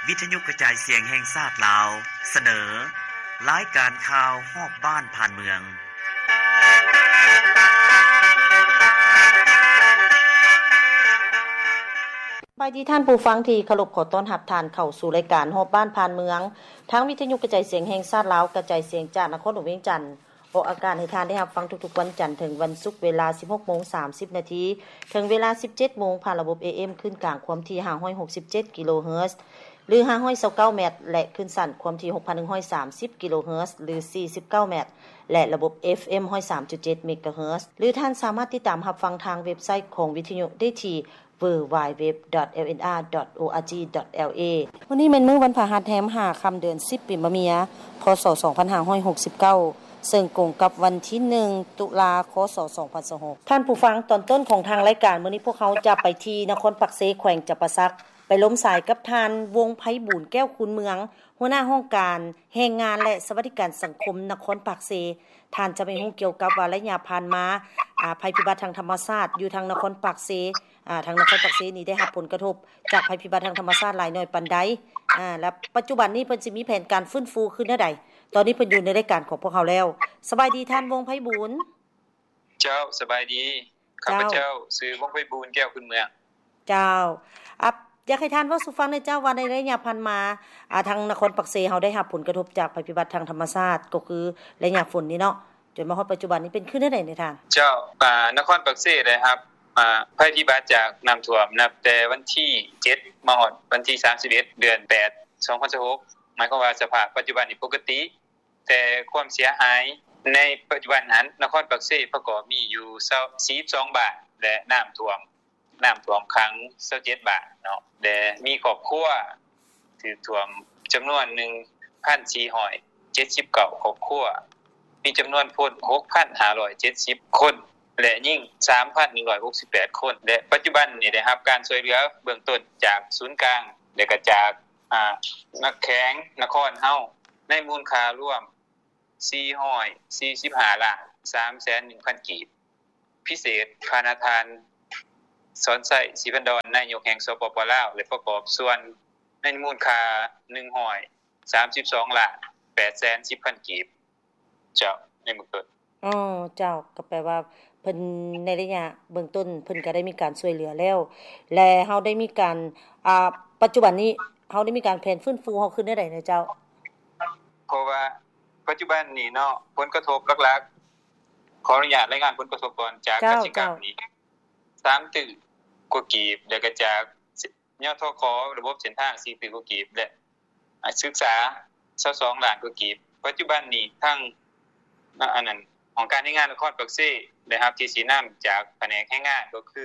ວິທະຍຸກະຈາຍສຽງແຫ່ງຊາດລາວ ສະເໜີ ລາຍການຂ່າວຮອບບ້ານຜ່ານເມືອງ. ສະບາຍດີທ່ານຜູ້ຟັງທີ່ເຄົາລົບ, ຂໍຕ້ອນຮັບທ່ານເຂົ້າສູ່ລາຍການຮອບບ້ານຜ່ານເມືອງ ທາງວິທະຍຸກະຈາຍສຽງແຫ່ງຊາດລາວ ກະຈາຍສຽງຈາກນະຄອນຫຼວງວຽງຈັນ. ອອກອາກາດໃຫ້ທ່ານໄດ້ຮັບຟັງທຸກໆວັນຈັນເຖິງວັນສຸກ ເວລາສິບຫົກໂມງສາມສິບນາທີ ເຖິງເວລາສິບເຈັດໂມງ ຜ່ານລະບົບ ເອເອັມ ຄື້ນກາງຄວາມຖີ່ຫ້າຮ້ອຍຫົກສິບເຈັດກິໂລເຮີດ ຫຼື ຫ້າຮ້ອຍຊາວເກົ້າແມັດ ແລະ ຄື້ນສັ້ນຄວາມຖີ່ຫົກພັນໜຶ່ງຮ້ອຍສາມສິບກິໂລເຮີດ ຫຼື ສີ່ສິບເກົ້າແມັດ ແລະ ລະບົບ ເອຟເອັມ ຮ້ອຍສາມຈຸດເຈັດເມກາເຮີດ ຫຼື ທ່ານສາມາດຕິດຕາມຮັບຟັງທາງເວັບໄຊຂອງວິທະຍຸໄດ້ທີ່ ดัບເບິນຢູ ດັບເບິນຢູ ດັບເບິນຢູ ດອດ ແອລເອັນອາ ດອດ ໂອອາຈີ ດອດ ແອລເອ. ມື້ນີ້ແມ່ນມື້ວັນພະຫັດແຮມຫ້າຄ່ຳເດືອນສິບ ປີມະເມີຍ ພ.ສ. ສອງພັນຫ້າຮ້ອຍຫົກສິບເກົ້າ ເຊິ່ງກົງກັບວັນທີໜຶ່ງ ຕຸລາ ຄ.ສ. ສອງພັນຊາວຫົກ. ທ່ານຜູ້ຟັງ, ຕອນຕົ້ນຂອງທາງລາຍການມື້ນີ້ ພວກເຮົາຈະໄປທີ່ນະຄອນປາກເຊ ແຂວງຈຳປາສັກ ໄປລົມສາຍກັບທ່ານ ວົງໄພບູນ ແກ້ວຄູນເມືອງ ຫົວໜ້າຫ້ອງການແຮງງານ ແລະ ສະຫວັດດີການສັງຄົມນະຄອນປາກເຊ. ທ່ານຈະໄປຮູ້ກ່ຽວກັບວ່າໄລຍະຜ່ານມາ ອາ ໄພພິບັດທາງທຳມະຊາດຢູ່ທາງນະຄອນປາກເຊ ອາ ທາງນະຄອນປາກເຊນີ້ໄດ້ຮັບຜົນກະທົບຈາກໄພພິບັດທາງທຳມະຊາດຫຼາຍໜ້ອຍປານໃດ ອາ ແລະ ປັດຈຸບັນນີ້ເພິ່ນຊິມີແຜນການຟື້ນຟູຄືນແນວໃດ. ຕອນນີ້ເພິ່ນຢູ່ໃນລາຍການຂອງພວກເຮົາແລ້ວ. ສະບາຍດີທ່ານ ວົງໄພບູນ. ເຈົ້າ, ສະບາຍດີ. ເຈົ້າ. ຂ້າພະເຈົ້າຊື່ ວົງໄພບູນ ແກ້ວຄູນເມືອງ. ເຈົ້າ. ອາ ຢາກໃຫ້ທ່ານເວົ້າສູ່ຟັງແດ່ເຈົ້າວ່າ ໃນໄລຍະຜ່ານມາ ອາ ທາງນະຄອນປາກເຊເຮົາໄດ້ຮັບຜົນກະທົບຈາກໄພພິບັດທາງທຳມະຊາດ ກໍຄືໄລຍະຝົນນີ້ເນາະ ຈົນມາຮອດປັດຈຸບັນນີ້ເປັນຄືແນວໃດແດ່ທ່ານ? ເຈົ້າ, ອາ ນະຄອນປາກເຊໄດ້ຮັບ ອາ ໄພພິບັດຈາກນ້ຳຖ້ວມນັບແຕ່ວັນທີເຈັດ ມາຮອດວັນທີສາມສິບເອັດ ເດືອນແປດ ສອງພັນຊາວຫົກ ໝາຍຄວາມວ່າສະພາບປັດຈຸບັນນີ້ປົກກະຕິ. ແຕ່ຄວາມເສຍຫາຍໃນປັດຈຸບັນຫັ້ນ ນະຄອນປາກເຊປະກອບມີຢູ່ຊາວ ສີ່ສິບສອງບ້ານ ແລະ ນ້ຳຖ້ວມ ນ້ຳຖ້ວມຂັງຊາວເຈັດບ້ານເນາະ ແລະ ມີຄອບຄົວຖືກຖ້ວມຈຳນວນໜຶ່ງພັນສີ່ຮ້ອຍເຈັດສິບເກົ້າຄອບຄົວ, ມີຈຳນວນຄົນຫົກພັນຫ້າຮ້ອຍເຈັດສິບຄົນ ແລະ ຍິງສາມພັນໜຶ່ງຮ້ອຍຫົກສິບແປດຄົນ ແລະ ປັດຈຸບັນນີ້ໄດ້ຮັບການຊ່ວຍເຫຼືອເບື້ອງຕົ້ນຈາກສູນກາງ ແລະ ກະຈາກ ອາ ແຂວງນະຄອນເຮົາ ໃນມູນຄ່າລວມ ສີ່ຮ້ອຍສີ່ສິບຫ້າລ້ານສາມແສນໜຶ່ງພັນກີບ. ພິເສດ ພານະທ່ານ ສອນໄຊ ສີພັນດອນ ນາຍົກແຫ່ງ ສປປ ລາວ ແລະ ປະກອບສ່ວນໃນມູນຄ່າ ໜຶ່ງຮ້ອຍສາມສິບສອງລ້ານແປດແສນສິບພັນກີບ ເຈົ້າ ໃນເບື້ອງຕົ້ນ. ອໍ ເຈົ້າ, ກໍແປວ່າເພິ່ນໃນໄລຍະເບື້ອງຕົ້ນເພິ່ນກໍໄດ້ມີການຊ່ວຍເຫຼືອແລ້ວ ແລະ ເຮົາໄດ້ມີການ ອາ ປັດຈຸບັນນີ້ເຮົາໄດ້ມີການແຜນຟື້ນຟູເຮົາຄືແນວໃດແດ່ເຈົ້າ? ເພາະວ່າປັດຈຸບັນນີ້ເນາະ ຜົນກະທົບຫຼັກໆ ຂໍອະນຸຍາດລາຍງານຜົນກະທົບກ່ອນ ຈາກ ເຈົ້າ ກະສິກຳ ເຈົ້າ ນີ້ ສາມຕື້ກວ່າກີບ ແລ້ວກໍຈາກ ຍທຂ ລະບົບເສັ້ນທາງ ສີ່ຕື້ກວ່າກີບ ແລະ ອາ ສຶກສາ ຊາວສອງລ້ານກວ່າກີບ. ປັດຈຸບັນນີ້ທາງ ອາ ອັນນັ້ນ ຫ້ອງການແຮງງານນະຄອນປາກເຊ ໄດ້ຮັບທີ່ຊີ້ນຳຈາກພະແນກແຮງງານ ກໍຄື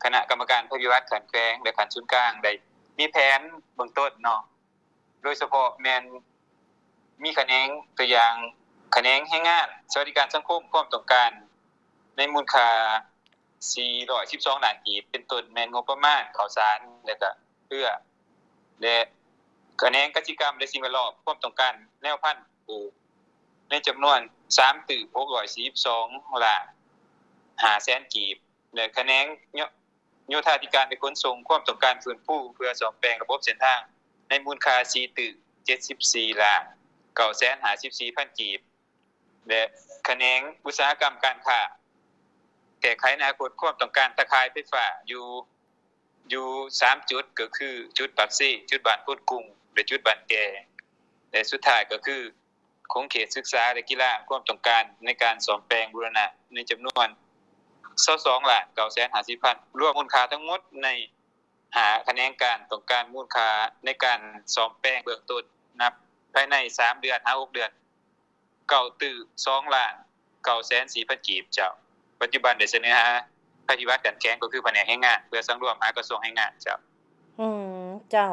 ຄະນະກຳມະການໄພພິບັດຂັ້ນແຂວງ ແລະ ຂັ້ນສູນກາງ ໄດ້ມີແຜນເບື້ອງຕົ້ນເນາະ ໂດຍສະເພາະແມ່ນມີຂະແໜງ ຕົວຢ່າງ ຂະແໜງແຮງງານ ສະຫວັດດີການສັງຄົມ ຄວາມຕ້ອງການໃນມູນຄ່າ ສີ່ຮ້ອຍສິບສອງລ້ານກີບ ເປັນຕົ້ນແມ່ນງົບປະມານເຂົ້າສານ ແລະ ກະເຮືອ ແລະ ຂະແໜງກະສິກຳ ແລະ ສິ່ງແວດລ້ອມ ຄວາມຕ້ອງການແນວພັນປູກ ໃນຈຳນວນ ສາມຕື້ຫົກຮ້ອຍສີ່ສິບສອງລ້ານຫ້າແສນກີບ ແລະ ຂະແໜງໂຍ ໂຍທາທິການ ແລະ ຂົນສົ່ງ ຄວາມຕ້ອງການຟື້ນຟູເພື່ອສ້ອມແປງລະບົບເສັ້ນທາງ ໃນມູນຄ່າ ສີ່ຕື້ເຈັດສິບສີ່ລ້ານເກົ້າແສນຫ້າສິບສີ່ພັນກີບ ແລະ ຂະແໜງອຸດສາຫະກຳການຄ້າ ແກ້ໄຂອະນາຄົດ ຄວາມຕ້ອງການຕາຂ່າຍໄຟຟ້າຢູ່ ຢູ່ສາມຈຸດ ກໍຄືຈຸດປາກເຊ, ຈຸດບ້ານໂພນກຸງ ແລະ ຈຸດບ້ານແກ່ ແລະ ສຸດທ້າຍກໍຄືຂົງເຂດສຶກສາ ແລະ ກິລາ ຄວາມຕ້ອງການໃນການສ້ອມແປງບູລະນະໃນຈຳນວນ ຊາວສອງລ້ານເກົ້າແສນຫ້າສິບພັນ ລວມມູນຄ່າທັງໝົດໃນຫ້າຂະແໜງການ ຕ້ອງການມູນຄ່າໃນການສ້ອມແປງເບື້ອງຕົ້ນ ນັບພາຍໃນສາມເດືອນຫາຫົກເດືອນ ເກົ້າຕື້ສອງລ້ານເກົ້າແສນສີ່ພັນກີບເຈົ້າ. ປັດຈຸບັນໄດ້ສະເໜີຫາໄພພິບັດຂັ້ນແຂວງ ກໍຄືພະແນກແຮງງານ ເພື່ອສັງລວມຫາກະຊວງແຮງງານເຈົ້າ. ອືມ ເຈົ້າ.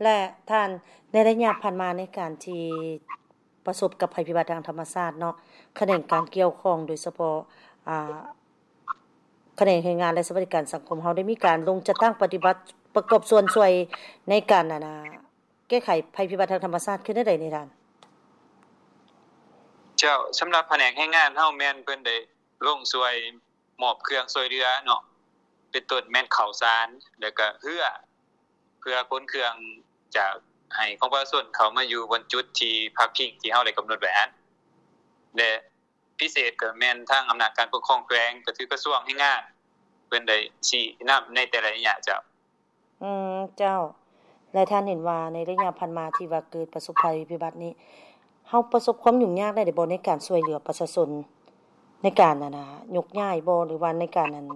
ແລະ ທ່ານ ໃນໄລຍະຜ່ານມາໃນການທີ່ປະສົບກັບໄພພິບັດທາງທຳມະຊາດເນາະ ຂະແໜງການກ່ຽວຂ້ອງ ໂດຍສະເພາະ ອາ ຂະແໜງແຮງງານ ແລະ ສະຫວັດດີການສັງຄົມ ເຮົາໄດ້ມີການລົງຈັດຕັ້ງປະຕິບັດ ປະກອບສ່ວນຊ່ວຍໃນການ ອັນນ່າ ແກ້ໄຂໄພພິບັດທາງທຳມະຊາດຄືແນວໃດນີ້ທ່ານ? ເຈົ້າ, ສຳລັບພະແນກແຮງງານເຮົາແມ່ນເພິ່ນໄດ້ລົງຊ່ວຍມອບເຄື່ອງຊ່ວຍເຫຼືອເນາະ, ເປັນຕົ້ນແມ່ນເຂົ້າສານ ແລ້ວກະເຮືອ ເພື່ອຂົນເຄື່ອງຈາກ ໃຫ້ຂອງປະຊາຊົນເຂົ້າມາຢູ່ບ່ອນຈຸດທີ່ພັກພິງທີ່ເຮົາໄດ້ກຳນົດໄວ້ຫັ້ນ ແລະ ພິເສດກໍແມ່ນທາງອຳນາດການປົກຄອງແຂວງ ກໍຄືກະຊວງແຮງງານ ເພິ່ນໄດ້ຊີ້ນຳໃນແຕ່ລະໄລຍະເຈົ້າ. ອືມ ເຈົ້າ. ແລະ ທ່ານເຫັນວ່າໃນໄລຍະຜ່ານມາທີ່ວ່າເກີດປະສົບໄພພິບັດນີ້ ເຮົາປະສົບຄວາມຫຍຸ້ງຍາກໄດ້ບໍ່ໃນການຊ່ວຍເຫຼືອປະຊາຊົນ ໃນການ ອັນນ່າ ຍົກຍ້າຍບໍ່ ຫຼືວ່າໃນການ ອັນ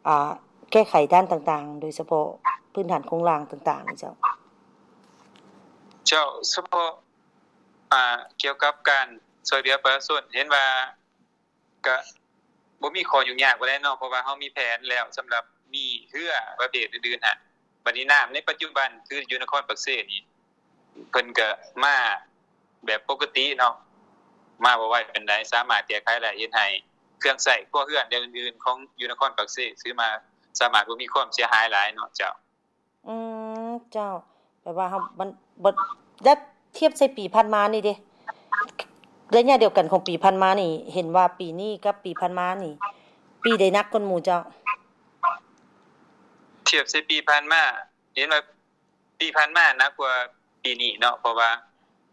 ອ່າ ແກ້ໄຂດ້ານຕ່າງໆ ໂດຍສະເພາະພື້ນຖານໂຄງລ່າງຕ່າງໆນີ້ເຈົ້າ? ເຈົ້າ ສະເພາະ ອ່າ ກ່ຽວກັບການຊ່ວຍເຫຼືອປະຊາຊົນ ເຫັນວ່າກະບໍ່ມີຂໍ້ຫຍຸ້ງຍາກປານໃດເນາະ ເພາະວ່າເຮົາມີແຜນແລ້ວສຳລັບມີເຮືອປະເພດອື່ນໆຫັ້ນ. ບັດນີ້ນ້ຳໃນປັດຈຸບັນຄືຢູ່ນະຄອນປາກເຊນີ້ ເພິ່ນກະມາແບບປົກກະຕິເນາະ ມາບໍ່ໄວປານໃດ ສາມາດແກ້ໄຂໄດ້ ເຮັດໃຫ້ເຄື່ອງໃຊ້ຄົວເຮືອນແນວອື່ນໆຂອງຢູ່ນະຄອນປາກເຊ ຖືວ່າສາມາດບໍ່ມີຄວາມເສຍຫາຍຫຼາຍເນາະເຈົ້າ. ອືມ ເຈົ້າ. ແປວ່າເຮົາ ມັນ ບັດ ແລະ ທຽບໃສ່ປີຜ່ານມານີ້ເດ ໄລຍະດຽວກັນຂອງປີຜ່ານມານີ້ ເຫັນວ່າປີນີ້ກັບປີຜ່ານມານີ້ ປີໃດໜັກກວ່າໝູ່ເຈົ້າ? ທຽບໃສ່ປີຜ່ານມາ ເຫັນວ່າປີຜ່ານມາໜັກກວ່າປີນີ້ເນາະ ເພາະວ່າ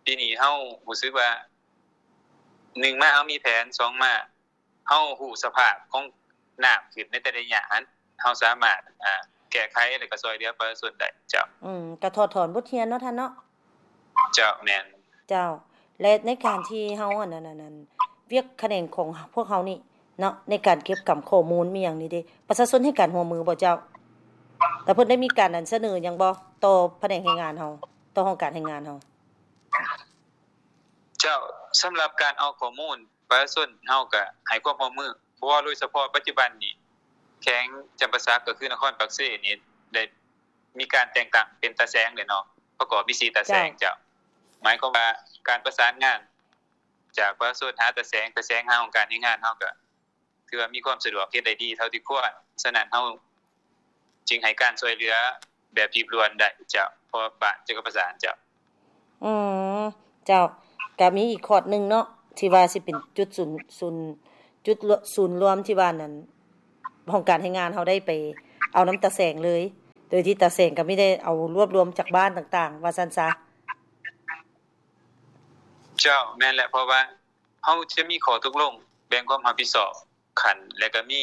ປີນີ້ເຮົາຮູ້ສຶກວ່າ ໜຶ່ງມາເຮົາມີແຜນ ສອງມາ ເຮົາຮູ້ສະພາບຂອງນ້ຳຂຶ້ນໃນແຕ່ລະໄລຍະຫັ້ນ ເຮົາສາມາດ ອ່າ ແກ້ໄຂ ແລະ ກໍຊ່ວຍເຫຼືອປະຊາຊົນໄດ້ເຈົ້າ. ອືມ ກໍຖອດຖອນບົດຮຽນເນາະທ່ານເນາະ. ເຈົ້າ ແມ່ນ. ເຈົ້າ ແລະ ໃນການທີ່ເຮົາ ອັນນັ້ນ ອັນນັ້ນ ວຽກຂະແໜງຂອງພວກເຮົານີ້ເນາະ ໃນການເກັບກຳຂໍ້ມູນມີຫຍັງນີ້ເດ ປະຊາຊົນໃຫ້ການຮ່ວມມືບໍ່ເຈົ້າ? ແລະ ເພິ່ນໄດ້ມີການ ອັນ ສະເໜີຫຍັງບໍ່ຕໍ່ພະແນກແຮງງານເຮົາ ຕໍ່ຫ້ອງການແຮງງານເຮົາ? ເຈົ້າ ສຳລັບການເອົາຂໍ້ມູນ ປະຊາຊົນເຮົາກະໃຫ້ຄວາມຮ່ວມມື ເພາະວ່າໂດຍສະເພາະປັດຈຸບັນນີ້ ແຂວງຈຳປາສັກ ກໍຄືນະຄອນປາກເຊນີ້ ໄດ້ມີການແຕ່ງຕັ້ງເປັນຕາແສງແລ້ວເນາະ ປະກອບມີສີ່ຕາແສງເຈົ້າ. ໝາຍຄວາມວ່າການປະສານງານຈາກປະຊາຊົນຫາຕາແສງ ຕາແສງຫາຫ້ອງການແຮງງານ ເຮົາກະ ຖືວ່າມີຄວາມສະດວກ ເຮັດໄດ້ດີເທົ່າທີ່ຄວນ. ສະນັ້ນ ເຮົາຈຶ່ງໃຫ້ການຊ່ວຍເຫຼືອແບບຮີບດ່ວນໄດ້ເຈົ້າ ເພາະບ້ານຈະປະສານເຈົ້າ. ອືມ ເຈົ້າ. ກະມີອີກຄອດໜຶ່ງເນາະ ທີ່ວ່າຊິເປັນຈຸດສູນ ສູນ ຈຸດລວມ ສູນລວມທີ່ວ່ານັ້ນ ຫ້ອງການແຮງງານເຮົາໄດ້ໄປເອົານຳຕາແສງເລີຍ ໂດຍທີ່ຕາແສງກໍມີໄດ້ເອົາລວບລວມຈາກບ້ານຕ່າງໆ ວ່າຊັ້ນຊະ. ເຈົ້າ ແມ່ນແຫຼະ ເພາະວ່າ ເຮົາຈະມີຂໍ້ຕົກລົງແບ່ງຄວາມຮັບຜິດຊອບຂັ້ນ ແລະ ກໍມີ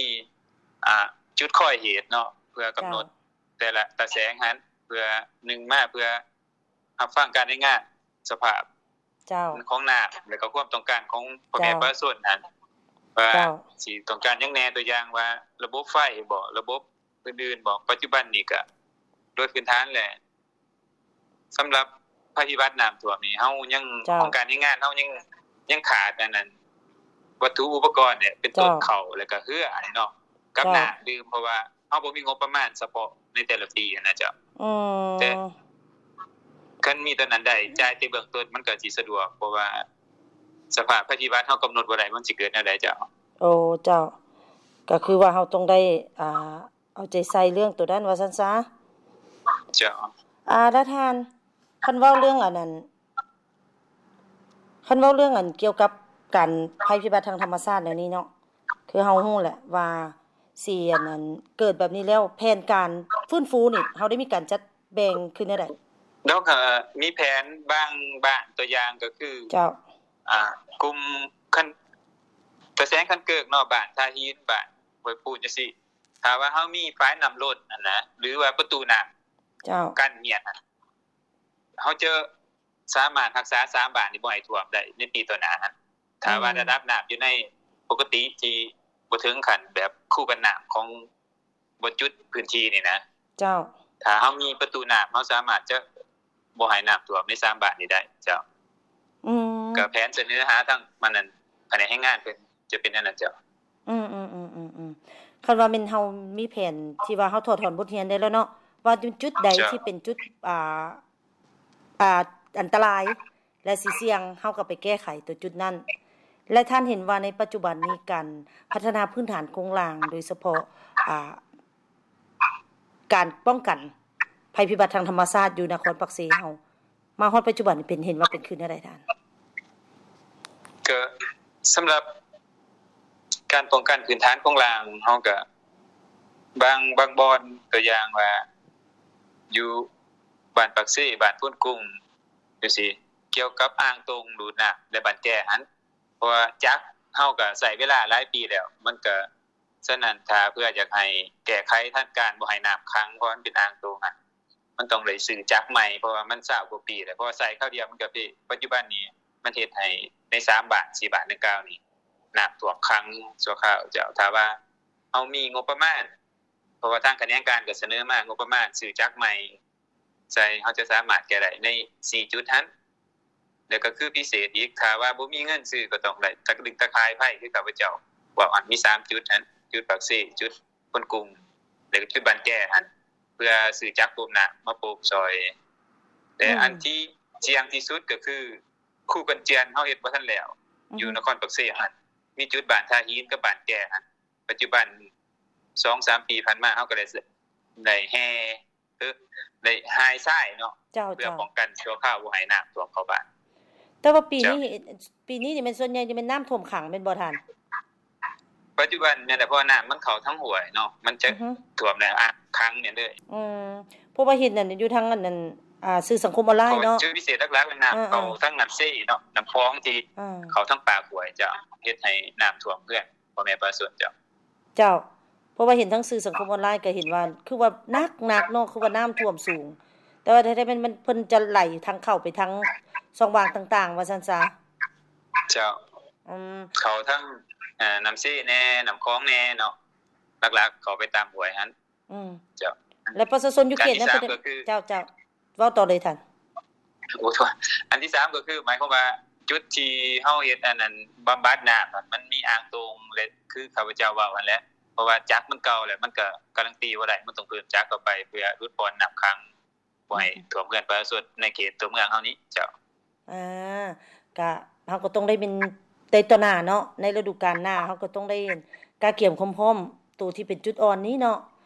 ອ່າ ຈຸດຄອຍເຫດເນາະ ເພື່ອກຳນົດ ເຈົ້າ ແຕ່ລະຕາແສງຫັ້ນ ເພື່ອ ໜຶ່ງ ມາເພື່ອຮັບຟັງການລາຍງານສະພາບ ເຈົ້າ ຂອງນ້ຳ ແລະ ກໍຄວາມຕ້ອງການຂອງພໍ່ແມ່ ເຈົ້າ ປະຊາຊົນຫັ້ນ ວ່າ ເຈົ້າ ຊິຕ້ອງການຫຍັງແດ່ ຕົວຢ່າງວ່າລະບົບໄຟບໍ ລະບົບອື່ນໆບໍ. ປັດຈຸບັນນີ້ກະໂດຍພື້ນຖານແລ້ວ ສຳລັບໄພພິບັດນ້ຳຖ້ວມນີ້ ເຮົາຍັງ ເຈົ້າ ຫ້ອງການແຮງງານເຮົາຍັງ ຍັງຂາດອັນນັ້ນ ວັດຖຸອຸປະກອນນີ້ ເປັນຕົ້ນ ເຈົ້າ ເຂົ້າ ແລ້ວກະເຮືອເນາະ ກັບ ເຈົ້າ ນ້ຳດື່ມ ເພາະວ່າເຮົາບໍ່ມີງົບປະມານສະເພາະໃນແຕ່ລະປີຫັ້ນນະເຈົ້າ. ອືມ ແຕ່ຄັນມີຕົວນັ້ນໄດ້ ຈ່າຍແຕ່ເບື້ອງຕົ້ນ ມັນກະຊິສະດວກ ເພາະວ່າສະພາບໄພພິບັດເຮົາກຳນົດບໍ່ໄດ້ ມັນຊິເກີດແນວໃດເຈົ້າ. ໂອ້ ເຈົ້າ ກະຄືວ່າເຮົາຕ້ອງໄດ້ ອ່າ ເອົາໃຈໃສ່ເລື່ອງໂຕນັ້ນວ່າຊັ້ນຊະ. ເຈົ້າ. ອາ ລະທ່ານ ຄັນເວົ້າເລື່ອງອັນນັ້ນ ຄັນເວົ້າເລື່ອງອັນກ່ຽວກັບການໄພພິບັດທາງທຳມະຊາດແນວນີ້ເນາະ ຄືເຮົາຮູ້ແຫຼະວ່າຊິອັນນັ້ນ ເກີດແບບນີ້ແລ້ວ ແຜນການຟື້ນຟູນີ້ ເຮົາໄດ້ມີການຈັດແບ່ງຄືແນວໃດ? ເຮົາກະມີແຜນບາງບ້ານ ຕົວຢ່າງກໍຄື ເຈົ້າ ອ່າ ກຸ່ມ ຄັນ ຕາແສງຄັນເກີກເນາະ ບ້ານທ່າຫີນ ບ້ານຫ້ວຍປູນ ຈັ່ງຊີ້ ຖ້າວ່າເຮົາມີຝາຍນ້ຳລົ້ນຫັ້ນນະ ຫຼືວ່າປະຕູນ້ຳ ເຈົ້າ ກັ້ນເຫຍດຫັ້ນ ເຮົາຈະສາມາດຮັກສາສາມບ້ານນີ້ບໍ່ໃຫ້ຖ້ວມໄດ້ໃນປີຕໍ່ໜ້າຫັ້ນ ຖ້າວ່າ ອືມ ລະດັບນ້ຳຢູ່ໃນປົກກະຕິທີ່ບໍ່ເຖິງຂັ້ນແບບຄູກັນນ້ຳຂອງບ່ອນຈຸດພື້ນທີ່ນີ້ນະ ເຈົ້າ ຖ້າເຮົາມີປະຕູນ້ຳ ເຮົາສາມາດຈະ ບໍ່ໃຫ້ນ້ຳຖ້ວມໃນສາມບ້ານນີ້ໄດ້ເຈົ້າ. ອືມ ກໍແຜນສະເໜີຫາທາງ ອັນນັ້ນ ພະແນກແຮງງານເພິ່ນຈະເປັນແນວນັ້ນເຈົ້າ. ອືມໆໆໆໆ ຄັນວ່າແມ່ນເຮົາມີແຜນທີ່ວ່າເຮົາຖອດຖອນບົດຮຽນໄດ້ແລ້ວເນາະ ວ່າຈຸດໃດ ເຈົ້າ ທີ່ເປັນຈຸດ ອ່າ ອ່າ ອັນຕະລາຍ ແລະ ຊິສ່ຽງ ເຮົາກໍໄປແກ້ໄຂຕົວຈຸດນັ້ນ. ແລະ ທ່ານເຫັນວ່າໃນປັດຈຸບັນນີ້ ການພັດທະນາພື້ນຖານໂຄງລ່າງ ໂດຍສະເພາະ ອ່າ ການປ້ອງກັນໄພພິບັດທາງທຳມະຊາດຢູ່ນະຄອນປາກເຊເຮົາ ມາຮອດປັດຈຸບັນນີ້ເປັນ ເຫັນວ່າເປັນຄືແນວໃດທ່ານ? ກໍສຳລັບການປ້ອງກັນພື້ນຖານໂຄງລ່າງ ເຮົາກໍບາງ ບາງບ່ອນ ຕົວຢ່າງວ່າຢູ່ບ້ານປາກເຊ ບ້ານໂພນກຸງ ຈັ່ງຊີ້ ກ່ຽວກັບອ່າງຕົງດູດນ້ຳ ແລະ ບ້ານແຈຫັ້ນ ເພາະວ່າຈັກເຮົາກໍໃຊ້ເວລາຫຼາຍປີແລ້ວ ມັນກໍ ສະນັ້ນ ຖ້າເພື່ອຢາກໃຫ້ແກ້ໄຂທັນການບໍ່ໃຫ້ນ້ຳຂັງ ເພາະມັນເປັນອ່າງຕົງຫັ້ນ ມັນຕ້ອງໄດ້ຊື້ຈັກໃໝ່ ເພາະວ່າມັນຊາວກວ່າປີແລ້ວ ເພາະວ່າໃຊ້ຄາວດຽວມັນກໍເພ. ປັດຈຸບັນນີ້ມັນເຮັດໃຫ້ໃນສາມບ້ານ ສີ່ບ້ານດັ່ງກ່າວນີ້ ນ້ຳຖ້ວມຂັງຊົ່ວຄາວເຈົ້າ. ຖ້າວ່າເຮົາມີງົບປະມານ ເພາະວ່າທາງຂະແໜງການກໍສະເໜີມາງົບປະມານຊື້ຈັກໃໝ່ ໃສ່ ເຮົາຈະສາມາດແກ້ໄດ້ໃນສີ່ຈຸດຫັ້ນ. ແລ້ວກໍຄືພິເສດອີກ ຖ້າວ່າບໍ່ມີເງິນຊື້ກໍຕ້ອງໄດ້ຕະດຶງຕະຂ່າຍໄຟ ຄືຂ້າພະເຈົ້າເວົ້າຫັ້ນ ມີສາມຈຸດຫັ້ນ ຈຸດປາກເຊ ຈຸດຄົນກຸງ ແລ້ວກໍຈຸດບ້ານແຈຫັ້ນ ເພື່ອຊື້ຈັກປົມນ້ຳມາປົມຊ່ອຍ. ແລະ ອືມ ອັນທີ່ສ່ຽງທີ່ສຸດກໍຄືຄູກັນຈຽນ ເຮົາເຮັດບໍ່ທັນແລ້ວ ອືຮຶ ຢູ່ນະຄອນປາກເຊຫັ້ນ ມີຈຸດບ້ານທ່າຫີນກັບບ້ານແຈຫັ້ນ ປັດຈຸບັນ ສອງສາມປີຜ່ານມາ ເຮົາກໍໄດ້ ໄດ້ແຮ່ ເອີ ໄດ້ຮ່າຍຊາຍເນາະ ເຈົ້າ ເພື່ອ ເຈົ້າ ປ້ອງກັນຊົ່ວຄາວບໍ່ໃຫ້ນ້ຳຖ້ວມເຂົ້າບ້ານ. ແຕ່ວ່າປີນີ້ ເຈົ້າ ປີນີ້ນີ້ແມ່ນສ່ວນໃຫຍ່ຈະແມ່ນນ້ຳຖ້ວມຂັງແມ່ນບໍ່ທ່ານ? ປັດຈຸບັນແມ່ນແຫຼະ ເພາະວ່ານ້ຳມັນເຂົ້າທາງຫ້ວຍເນາະ ມັນຈະ ອືຮຶ ຖ້ວມແລ້ວ ອ່າ ຂັງແມ່ນເລີຍ. ອືມ ເພາະວ່າເຫັນນັ້ນຢູ່ທາງອັນນັ້ນ ອ່າ ສື່ສັງຄົມອອນລາຍເນາະ ຈຸດພິເສດຫຼັກໆ ນ້ຳ ເອີ ເຂົ້າ ເອີ ທາງນ້ຳເຊເນາະ ນ້ຳຂອງທີ່ ເອີ ເຂົ້າທາງປາກຫ້ວຍ ຈະເຮັດໃຫ້ນ້ຳຖ້ວມເຮືອນພໍ່ແມ່ປະຊາຊົນເຈົ້າ. ເຈົ້າ ເພາະວ່າເຫັນທາງສື່ສັງຄົມອອນລາຍກໍເຫັນວ່າ ຄືວ່າໜັກໆ ເນາະ ຄືວ່ານ້ຳຖ້ວມສູງ ແຕ່ວ່າແທ້ໆ ມັນ ມັນ ເພິ່ນຈະໄຫຼທາງເຂົ້າໄປທາງຊ່ອງວ່າງຕ່າງໆ ວ່າຊັ້ນຊະ. ເຈົ້າ ອືມ ເຂົ້າທາງ ເອີ ນ້ຳເຊແດ່ ນ້ຳຂອງແດ່ເນາະ ຫຼັກໆ ເຂົ້າໄປຕາມຫ້ວຍຫັ້ນ. ອືມ ເຈົ້າ ແລະ ປະຊາຊົນຢູ່ເຂດນັ້ນ ອັນທີສາມກໍຄື ເຈົ້າ ເຈົ້າ ເວົ້າຕໍ່ເລີຍທ່ານ. ໂອ້ ໂທດ ອັນທີສາມກໍຄື ໝາຍຄວາມວ່າຈຸດທີ່ເຮົາເຮັດອັນນັ້ນ ບຳບັດນ້ຳ ມັນມີອ່າງຕົງ ແລະ ຄືຂ້າພະເຈົ້າເວົ້າຫັ້ນແຫຼະ ເພາະວ່າຈັກມັນເກົ່າແລ້ວ ມັນກໍກາຣັນຕີບໍ່ໄດ້ ມັນຕ້ອງເພີ່ມຈັກເຂົ້າໄປ ເພື່ອຫຼຸດຜ່ອນນ້ຳຂັງ ບໍ່ໃຫ້ ອືມ ຖ້ວມເຮືອນປະຊາຊົນໃນເຂດຕົວເມືອງເຮົານີ້ ເຈົ້າ. ອ່າ ກະ ເຮົາກໍຕ້ອງໄດ້ແມ່ນ ໃນຕໍ່ໜ້າເນາະ ໃນລະດູການໜ້າ ເຮົາກໍຕ້ອງໄດ້ກະກຽມຄວາມພ້ອມໂຕທີ່ເປັນຈຸດອ່ອນນີ້ເນາະ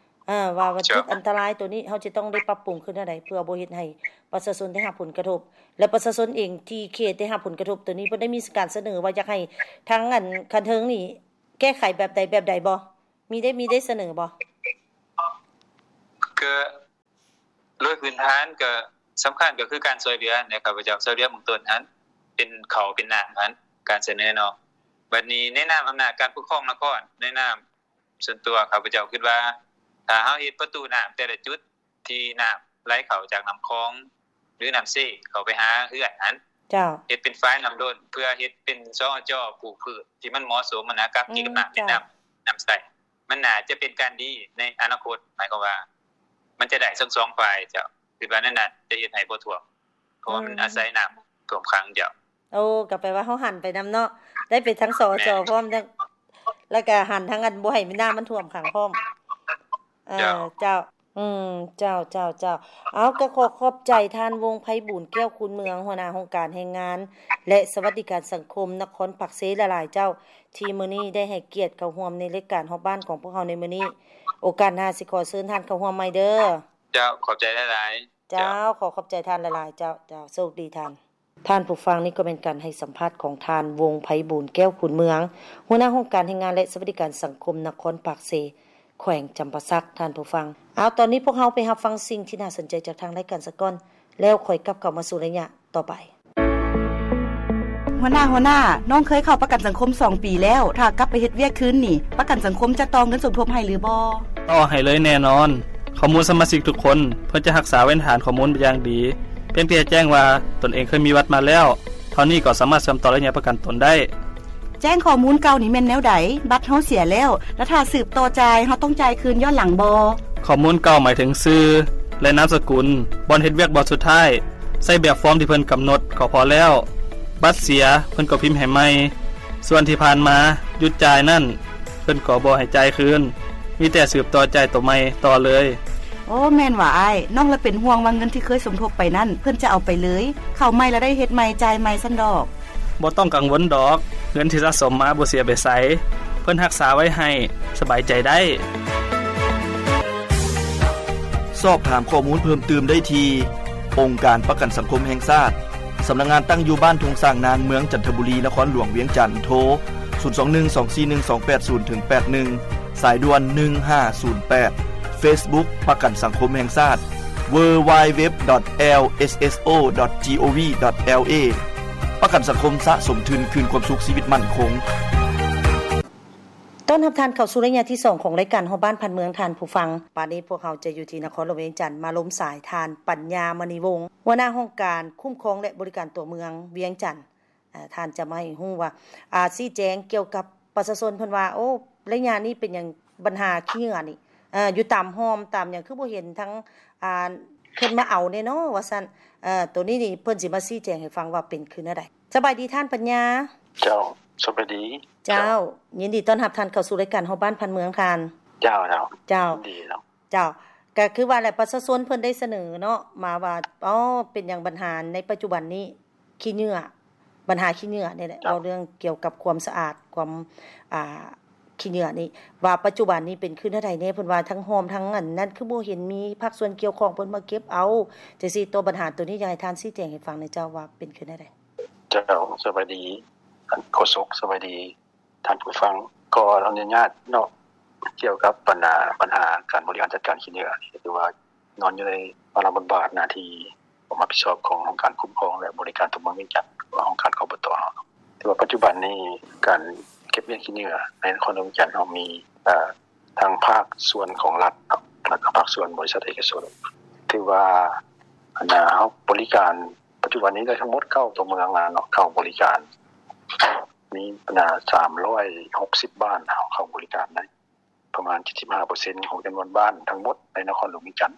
ເອີ ວ່າ ວ່າ ເຈົ້າ ຈຸດອັນຕະລາຍໂຕນີ້ ເຮົາຈະຕ້ອງໄດ້ປັບປຸງຂຶ້ນແນວໃດ ເພື່ອບໍ່ເຮັດໃຫ້ປະຊາຊົນໄດ້ຮັບຜົນກະທົບ ແລະ ປະຊາຊົນເອງທີ່ເຂດໄດ້ຮັບຜົນກະທົບໂຕນີ້ ເພິ່ນໄດ້ມີການສະເໜີວ່າຢາກໃຫ້ທາງອັນຂັ້ນເທິງນີ້ແກ້ໄຂແບບໃດແບບໃດບໍ່? ມີໄດ້ ມີໄດ້ສະເໜີບໍ່? ກະ ໂດຍພື້ນຖານກໍສຳຄັນກໍຄືການຊ່ວຍເຫຼືອແຫຼະ ຂ້າພະເຈົ້າ ຊ່ວຍເຫຼືອເບື້ອງຕົ້ນຫັ້ນ ເປັນເຂົ້າເປັນນ້ຳຫັ້ນ ການສະເໜີເນາະ. ບັດນີ້ໃນນາມອຳນາດການປົກຄອງນະຄອນ ໃນນາມສ່ວນຕົວຂ້າພະເຈົ້າຄິດວ່າ ຖ້າເຮົາເຮັດປະຕູນ້ຳແຕ່ລະຈຸດທີ່ນ້ຳໄຫຼເຂົ້າຈາກນ້ຳຂອງ ຫຼື ນ້ຳເຊເຂົ້າໄປຫາເຮືອນຫັ້ນ ເຈົ້າ ເຮັດເປັນຝາຍນ້ຳລົ້ນ ເພື່ອເຮັດເປັນ ສອ ຈ ປູກພືດທີ່ມັນເໝາະສົມຫັ້ນນະ ກັບ ອືມ ກິດກັບນ້ຳ ເຈົ້າ ໃນນ້ຳ ນ້ຳໃຊ້ ມັນໜ້າຈະເປັນການດີໃນອະນາຄົດ ໝາຍຄວາມວ່າມັນຈະໄດ້ທັງສອງຝ່າຍເຈົ້າ ຄິດວ່າແນວນັ້ນຈະເຮັດໃຫ້ບໍ່ຖ້ວມ ເພາະວ່າມັນ ອືມ ອາໄສນ້ຳຖ້ວມຂັງເຈົ້າ. ໂອ້ ກໍແປວ່າເຮົາຫັນໄປນຳເນາະ ໄດ້ໄປທັງ ສ ຈ ພ້ອມ ແລ້ວກໍຫັນທັງອັນບໍ່ໃຫ້ນ້ຳມັນຖ້ວມຂັງພ້ອມ. ເອີ ເຈົ້າ ເຈົ້າ ອືມ ເຈົ້າ ເຈົ້າ ເຈົ້າ ເອົາ ກໍຂໍຂອບໃຈທ່ານ ວົງໄພບູນ ແກ້ວຄູນເມືອງ ຫົວໜ້າຫ້ອງການແຮງງານ ແລະ ສະຫວັດດີການສັງຄົມນະຄອນປາກເຊຫຼາຍໆ ເຈົ້າ ທີ່ມື້ນີ້ໄດ້ໃຫ້ກຽດເຂົ້າຮ່ວມໃນລາຍການຮອບບ້ານຂອງພວກເຮົາໃນມື້ນີ້. ໂອກາດໜ້າຊິຂໍເຊີນທ່ານເຂົ້າຮ່ວມໃໝ່ເດີ້. ເຈົ້າ ຂອບໃຈຫຼາຍໆ. ເຈົ້າ ເຈົ້າ ຂໍຂອບໃຈທ່ານຫຼາຍໆ ເຈົ້າ. ເຈົ້າ ໂຊກດີທ່ານ. ທ່ານຜູ້ຟັງ, ນີ້ກໍແມ່ນການໃຫ້ສຳພາດຂອງທ່ານ ວົງໄພບູນ ແກ້ວຄູນເມືອງ, ຫົວໜ້າຫ້ອງການແຮງງານ ແລະ ສະຫວັດດີການສັງຄົມນະຄອນປາກເຊ, ແຂວງຈຳປາສັກ, ທ່ານຜູ້ຟັງ. ເອົາ, ຕອນນີ້ພວກເຮົາໄປຮັບຟັງສິ່ງທີ່ໜ້າສົນໃຈຈາກທາງລາຍການສາກ່ອນ, ແລ້ວຄ່ອຍກັບເຂົ້າມາສູ່ໄລຍະຕໍ່ໄປ. ຫົວໜ້າ, ຫົວໜ້າ, ນ້ອງເຄີຍເຂົ້າປະກັນສັງຄົມສອງປີແລ້ວ, ຖ້າກັບໄປເຮັດວຽກຄືນນີ້, ປະກັນສັງຄົມຈະຕໍ່ເງິນສົມທົບໃຫ້ຫຼືບໍ່? ຕໍ່ໃຫ້ເລີຍແນ່ນອນ. ຂໍ້ມູນສະມາຊິກທຸກຄົນ ເພິ່ນຈະຮັກສາເວນຖານຂໍ້ມູນເປັນຢ່າງດີ. ພຽງແຕ່ແຈ້ງວ່າຕົນເອງເຄີຍມີບັດມາແລ້ວ, ເທົ່ານີ້ກໍສາມາດເຊື່ອມຕໍ່ໄລຍະປະກັນຕົນໄດ້. ແຈ້ງຂໍ້ມູນເກົ່ານີ້ແມ່ນແນວໃດ? ບັດເຮົາເສຍແລ້ວ, ແລະ ຖ້າສືບຕໍ່ຈ່າຍ, ເຮົາຕ້ອງຈ່າຍຄືນຍ້ອນຫຼັງບໍ່? ຂໍ້ມູນເກົ່າໝາຍເຖິງຊື່ ແລະ ນາມສະກຸນ, ບ່ອນເຮັດວຽກບ່ອນສຸດທ້າຍ, ໃຊ້ແບບຟອມທີ່ເພິ່ນກຳນົດກໍພໍແລ້ວ. ບັດເສຍ, ເພິ່ນກໍພິມໃຫ້ໃໝ່. ສ່ວນທີ່ຜ່ານມາຢຸດຈ່າຍນັ້ນ, ເພິ່ນກໍບໍ່ໃຫ້ຈ່າຍຄືນ, ມີແຕ່ສືບຕໍ່ຈ່າຍໂຕໃໝ່ຕໍ່ເລີຍ. ໂອ້, ແມ່ນຫວາອ້າຍ. ນ້ອງລະເປັນຫ່ວງວ່າເງິນທີ່ເຄີຍສົມທົບໄປນັ້ນ, ເພິ່ນຈະເອົາໄປເລີຍ, ເຂົ້າໃໝ່ລະໄດ້ເຮັດໃໝ່, ຈ່າຍໃໝ່ຊັ້ນດອກ. ບໍ່ຕ້ອງກັງວົນດອກ, ເງິນທີ່ສະສົມມາບໍ່ເສຍໄປໃສ, ເພິ່ນຮັກສາໄວ້ໃຫ້, ສະບາຍໃຈໄດ້. ສອບຖາມຂໍ້ມູນເພີ່ມຕື່ມໄດ້ທີ່ ອົງການປະກັນສັງຄົມແຫ່ງຊາດ, ສຳນັກງານຕັ້ງຢູ່ບ້ານທົ່ງຊ້າງນາງ, ເມືອງຈັນທະບູລີ, ນະຄອນຫຼວງວຽງຈັນ, ໂທ ສູນສອງໜຶ່ງ ສອງສີ່ໜຶ່ງ ສອງແປດສູນ ເຖິງ ແປດໜຶ່ງ, ສາຍດ່ວນ ໜຶ່ງຫ້າສູນແປດ, ເຟສບຸກ ປະກັນສັງຄົມແຫ່ງຊາດ, ดับเบิลยู ดับเบิลยู ดับเบิลยู ดอท แอล เอส เอส โอ ดอท จี โอ วี ดอท แอล เอ ປະກັນສັງຄົມ ສະສົມທຶນ ຄືນຄວາມສຸກຊີວິດໝັ້ນຄົງ. ຕ້ອນຮັບທ່ານເຂົ້າສູ່ໄລຍະທີສອງຂອງລາຍການຮອບບ້ານຜ່ານເມືອງ ທ່ານຜູ້ຟັງ. ບາດນີ້ພວກເຮົາຈະຢູ່ທີ່ນະຄອນຫຼວງວຽງຈັນ ມາລົມສາຍທ່ານ ປັນຍາ ມະນີວົງ ຫົວໜ້າຫ້ອງການຄຸ້ມຄອງ ແລະ ບໍລິການຕົວເມືອງວຽງຈັນ. ອາ ທ່ານຈະມາໃຫ້ຮູ້ວ່າ ອາ ຊີ້ແຈງກ່ຽວກັບປະຊາຊົນເພິ່ນວ່າ ໂອ້ ໄລຍະນີ້ເປັນຫຍັງບັນຫາຂີ້ເຫຍື້ອນີ້ ເອີ ຢູ່ຕາມຮ່ອມຕາມຫຍັງ ຄືບໍ່ເຫັນທັງ ອາ ເພິ່ນມາເອົາແດ່ເນາະ ວ່າຊັ້ນ. ເອີ ໂຕນີ້ນີ້ເພິ່ນຊິມາຊີ້ແຈງໃຫ້ຟັງວ່າເປັນຄືແນວໃດ. ສະບາຍດີທ່ານປັນຍາ. ເຈົ້າ ສະບາຍດີ. ເຈົ້າ ເຈົ້າ ຍິນດີຕ້ອນຮັບທ່ານເຂົ້າສູ່ລາຍການຮອບບ້ານຜ່ານເມືອງທ່ານ. ເຈົ້າ ເຈົ້າ ເຈົ້າ ຍິນດີເນາະ. ເຈົ້າ ກໍຄືວ່າແຫຼະ ປະຊາຊົນເພິ່ນໄດ້ສະເໜີເນາະ ມາວ່າ ອໍ ເປັນຫຍັງບັນຫາໃນປັດຈຸບັນນີ້ຂີ້ເຫຍື້ອ ບັນຫາຂີ້ເຫຍື້ອນີ້ແຫຼະ ເວົ້າເລື່ອງກ່ຽວກັບຄວາມສະອາດ ຄວາມ ອ່າ ຂີ້ເຫຍື້ອນີ້ ວ່າປັດຈຸບັນນີ້ເປັນຄືແນວໃດແດ່? ເພິ່ນວ່າທັງຮ່ອມທັງອັນນັ້ນ ຄືບໍ່ເຫັນມີພາກສ່ວນກ່ຽວຂ້ອງເພິ່ນມາເກັບເອົາ ຈັ່ງຊີ້. ຕໍ່ບັນຫາໂຕນີ້ ຢາກໃຫ້ທ່ານຊີ້ແຈງໃຫ້ຟັງແດ່ເຈົ້າ ວ່າເປັນຄືແນວໃດ? ເຈົ້າ ສະບາຍດີທ່ານໂຄສົກ ສະບາຍດີ ທ່ານຜູ້ຟັງ. ຂໍອະນຸຍາດເນາະ ກ່ຽວກັບບັນຫາ ບັນຫາການບໍລິຫານຈັດການຂີ້ເຫຍື້ອ ຖືວ່ານອນຢູ່ໃນພາລະບົດບາດໜ້າທີ່ຄວາມຮັບຜິດຊອບຂອງຫ້ອງການຄຸ້ມຄອງ ແລະ ບໍລິການຕົວເມືອງວຽງຈັນ ຫຼືວ່າຫ້ອງການ ຄບຕ ເຮົາເນາະ. ຖືວ່າປັດຈຸບັນນີ້ການເກັບມ້ຽນຂີ້ເຫຍື້ອໃນນະຄອນຫຼວງວຽງຈັນເຮົາມີ ເອີ ທັງພາກສ່ວນຂອງລັດເນາະ ແລະ ກໍພາກສ່ວນບໍລິສັດເອກະຊົນ ຖືວ່າ ອັນນ່າ ເຮົາບໍລິການ ປັດຈຸບັນນີ້ໄດ້ທັງໝົດເກົ້າຕົວເມືອງແລ້ວເນາະ ເຂົ້າບໍລິການ ມີ ສາມຮ້ອຍຫົກສິບບ້ານເຮົາເຂົ້າບໍລິການໄດ້ ປະມານເຈັດສິບຫ້າເປີເຊັນຂອງຈຳນວນບ້ານທັງໝົດໃນນະຄອນຫຼວງວຽງຈັນ.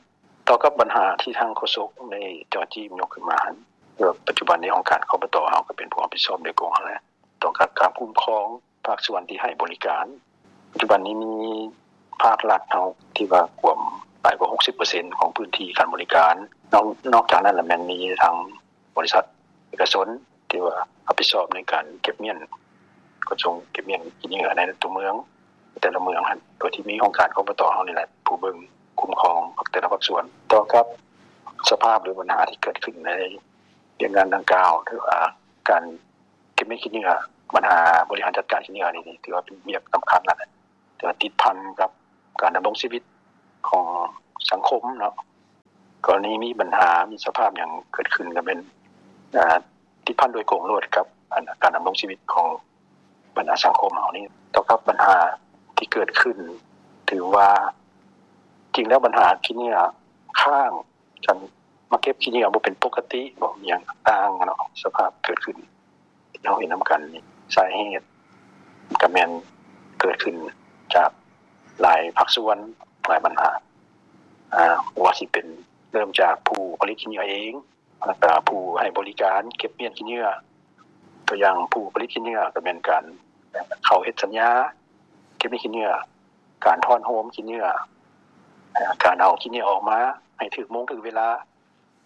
ຕໍ່ກັບບັນຫາທີ່ທາງໂຄສົກໄດ້ເຈາະຈີ້ຍົກຂຶ້ນມາຫັ້ນ ເພາະວ່າປັດຈຸບັນນີ້ຫ້ອງການ ຄບຕ ເຮົາກໍເປັນຜູ້ຮັບຜິດຊອບໂດຍກົງຫັ້ນແຫຼະ ຕໍ່ກັບການຄຸ້ມຄອງພາກສ່ວນທີ່ໃຫ້ບໍລິການ. ປັດຈຸບັນນີ້ມີພາກລັດເຮົາທີ່ວ່າກວມຫຼາຍກວ່າຫົກສິບເປີເຊັນຂອງພື້ນທີ່ການບໍລິການ. ນອກ ນອກຈາກນັ້ນລະແມ່ນມີທາງ ບໍລິສັດເອກະຊົນທີ່ວ່າຮັບຜິດຊອບໃນການເກັບມ້ຽນ ຂົນສົ່ງເກັບມ້ຽນຂີ້ເຫຍື້ອໃນຕົວເມືອງ ແຕ່ລະເມືອງຫັ້ນ ໂດຍທີ່ມີຫ້ອງການ ຄບຕ ເຮົານີ້ແຫຼະ ຜູ້ເບິ່ງຄຸ້ມຄອງແຕ່ລະພາກສ່ວນ. ຕໍ່ກັບສະພາບ ຫຼື ບັນຫາທີ່ເກີດຂຶ້ນໃນວຽກງານດັ່ງກ່າວ ຖືວ່າການເກັບມ້ຽນຂີ້ເຫຍື້ອ ບັນຫາບໍລິຫານຈັດການຂີ້ເຫຍື້ອນີ້ ຖືວ່າເປັນວຽກສຳຄັນແລ້ວແຫຼະ ແຕ່ວ່າຕິດພັນກັບການດຳລົງຊີວິດຂອງສັງຄົມເນາະ. ກໍລະນີມີບັນຫາ ມີສະພາບຫຍັງເກີດຂຶ້ນ ກໍແມ່ນ ອາ ຕິດພັນໂດຍກົງໂລດກັບ ອັນ ການດຳລົງຊີວິດຂອງບັນດາສັງຄົມເຮົານີ້. ຕໍ່ກັບບັນຫາທີ່ເກີດຂຶ້ນ ຖືວ່າ ຈິງແລ້ວບັນຫາຂີ້ເຫຍື້ອຄ້າງ ການມາເກັບຂີ້ເຫຍື້ອບໍ່ເປັນປົກກະຕິ ບໍ່ມີຫຍັງຕ່າງໆເນາະ ສະພາບເກີດຂຶ້ນ ທີ່ເຮົາເຫັນນຳກັນນີ້ ສາເຫດກໍແມ່ນເກີດຂຶ້ນຈາກຫຼາຍພາກສ່ວນ ຫຼາຍບັນຫາ ອາ ບໍ່ວ່າຊິເປັນເລີ່ມຈາກຜູ້ຜະລິດຂີ້ເຫຍື້ອເອງ ແລ້ວກໍຜູ້ໃຫ້ບໍລິການເກັບມ້ຽນຂີ້ເຫຍື້ອ. ຕົວຢ່າງຜູ້ຜະລິດຂີ້ເຫຍື້ອກໍແມ່ນການເຂົ້າເຮັດສັນຍາເກັບມ້ຽນຂີ້ເຫຍື້ອ, ການທ້ອນໂຮມຂີ້ເຫຍື້ອ, ການເອົາຂີ້ເຫຍື້ອອອກມາໃຫ້ຖືກໂມງຖືກເວລາ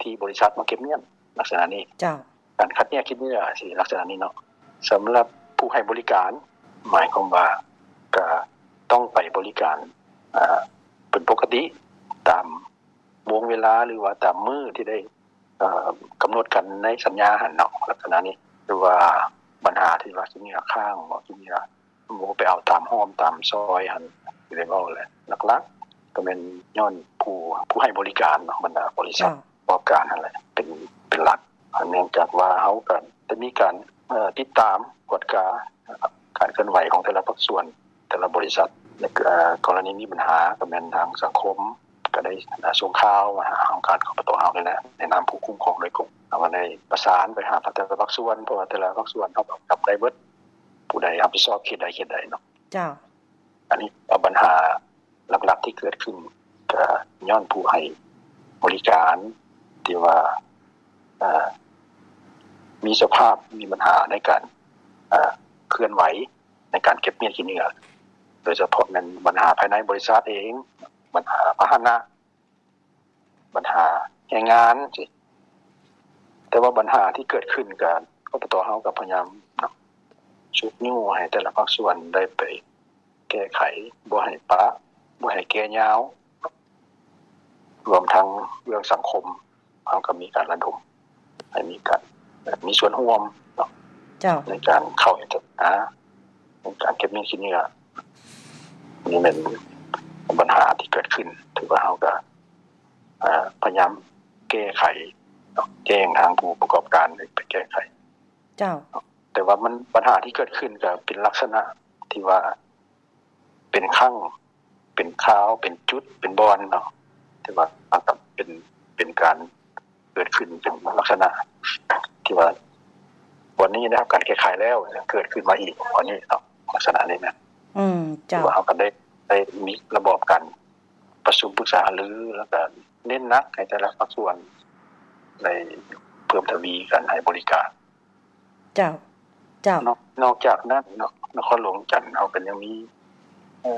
ທີ່ບໍລິສັດມາເກັບມ້ຽນ ລັກສະນະນີ້. ເຈົ້າ. ການຄັດແຍກຂີ້ເຫຍື້ອຊິລັກສະນະນີ້ເນາະ. ສຳລັບຜູ້ໃຫ້ບໍລິການ ໝາຍຄວາມວ່າກະຕ້ອງໄປບໍລິການ ອາ ເປັນປົກກະຕິຕາມວງເວລາ ຫຼືວ່າຕາມມື້ທີ່ໄດ້ ເອີ ກຳນົດກັນໃນສັນຍາຫັ້ນເນາະ ລັກສະນະນີ້. ຫຼືວ່າບັນຫາທີ່ວ່າຂີ້ເຫຍື້ອຄ້າງ ບໍ່ ຂີ້ເຫຍື້ອ ບໍ່ໄປເອົາຕາມຮ່ອມຕາມຊອຍຫັ້ນ ທີ່ໄດ້ເວົ້າແຫຼະ ຫຼັກໆກໍແມ່ນຍ້ອນຜູ້ ຜູ້ໃຫ້ບໍລິການເນາະ ບັນດາບໍລິສັດ ເຈົ້າ ປະກອບການຫັ້ນແຫຼະ ເປັນ ເປັນຫຼັກ. ເນື່ອງຈາກວ່າເຮົາກໍໄດ້ມີການ ເອີ ຕິດຕາມກວດກາການເຄື່ອນໄຫວຂອງແຕ່ລະພາກສ່ວນ ແຕ່ລະບໍລິສັດ. ໃນ ເອີ ກໍລະນີມີບັນຫາ ກໍແມ່ນທາງສັງຄົມ ກໍໄດ້ ອາ ສົ່ງຂ່າວມາຫາຫ້ອງການ ຄບຕ ເຮົານີ້ແຫຼະ ໃນນາມຜູ້ຄຸ້ມຄອງໂດຍກົງ. ເຮົາກໍໄດ້ປະສານໄປຫາແຕ່ລະພາກສ່ວນ ເພາະວ່າແຕ່ລະພາກສ່ວນເຮົາກໍຈຳໄດ້ເບິດ ຜູ້ໃດຮັບຜິດຊອບເຂດໃດເຂດໃດເນາະ. ເຈົ້າ. ອັນນີ້ເອົາບັນຫາຫຼັກໆທີ່ເກີດຂຶ້ນ ກໍຍ້ອນຜູ້ໃຫ້ບໍລິການທີ່ວ່າ ເອີ ມີສະພາບ ມີບັນຫາໃນການ ເອີ ເຄື່ອນໄຫວໃນການເກັບມ້ຽນຂີ້ເຫຍື້ອ ໂດຍສະເພາະແມ່ນບັນຫາພາຍໃນບໍລິສັດເອງ ບັນຫາພາຫະນະ ບັນຫາແຮງງານຊີ້. ແຕ່ວ່າບັນຫາທີ່ເກີດຂຶ້ນກໍ ຄບຕ ເຮົາກໍພະຍາຍາມເນາະ ຊຸກຍູ້ໃຫ້ແຕ່ລະພາກສ່ວນໄດ້ໄປແກ້ໄຂ ບໍ່ໃຫ້ປະ ບໍ່ໃຫ້ແກ່ຍາວ ລວມທັງເລື່ອງສັງຄົມ ເຮົາກໍມີການລະດົມໃຫ້ມີການ ແບບ ມີສ່ວນຮ່ວມເນາະ ເຈົ້າ ໃນການເຂົ້າເຮັດ ອາ ໃນການເກັບມ້ຽນຂີ້ເຫຍື້ອ. ນີ້ແມ່ນບັນຫາທີ່ເກີດຂຶ້ນ ຖືວ່າເຮົາກໍ ອ່າ ພະຍາຍາມແກ້ໄຂເນາະ ແຈ້ງທາງຜູ້ປະກອບການໃຫ້ໄປແກ້ໄຂ. ເຈົ້າ. ແຕ່ວ່າມັນ ບັນຫາທີ່ເກີດຂຶ້ນກໍເປັນລັກສະນະທີ່ວ່າເປັນຄັ້ງ ເປັນຄາວ ເປັນຈຸດ ເປັນບ່ອນເນາະ ທີ່ວ່າເປັນ ເປັນການເກີດຂຶ້ນເປັນລັກສະນະທີ່ວ່າ ບ່ອນນີ້ໄດ້ຮັບການແກ້ໄຂແລ້ວ ເກີດຂຶ້ນມາອີກບ່ອນນີ້ເນາະ ລັກສະນະນີ້ນະ. ອືມ ເຈົ້າ. ວ່າເຮົາກໍໄດ້ ໄດ້ມີລະບອບການປະຊຸມປຶກສາຫາລື ແລ້ວກໍເນັ້ນໜັກໃຫ້ແຕ່ລະພາກສ່ວນໄດ້ເພີ່ມທະວີການໃຫ້ບໍລິການ. ເຈົ້າ ເຈົ້າ. ນອກ ນອກຈາກນັ້ນເນາະ ນະຄອນຫຼວງວຽງຈັນເຮົາກໍຍັງມີ ເອີ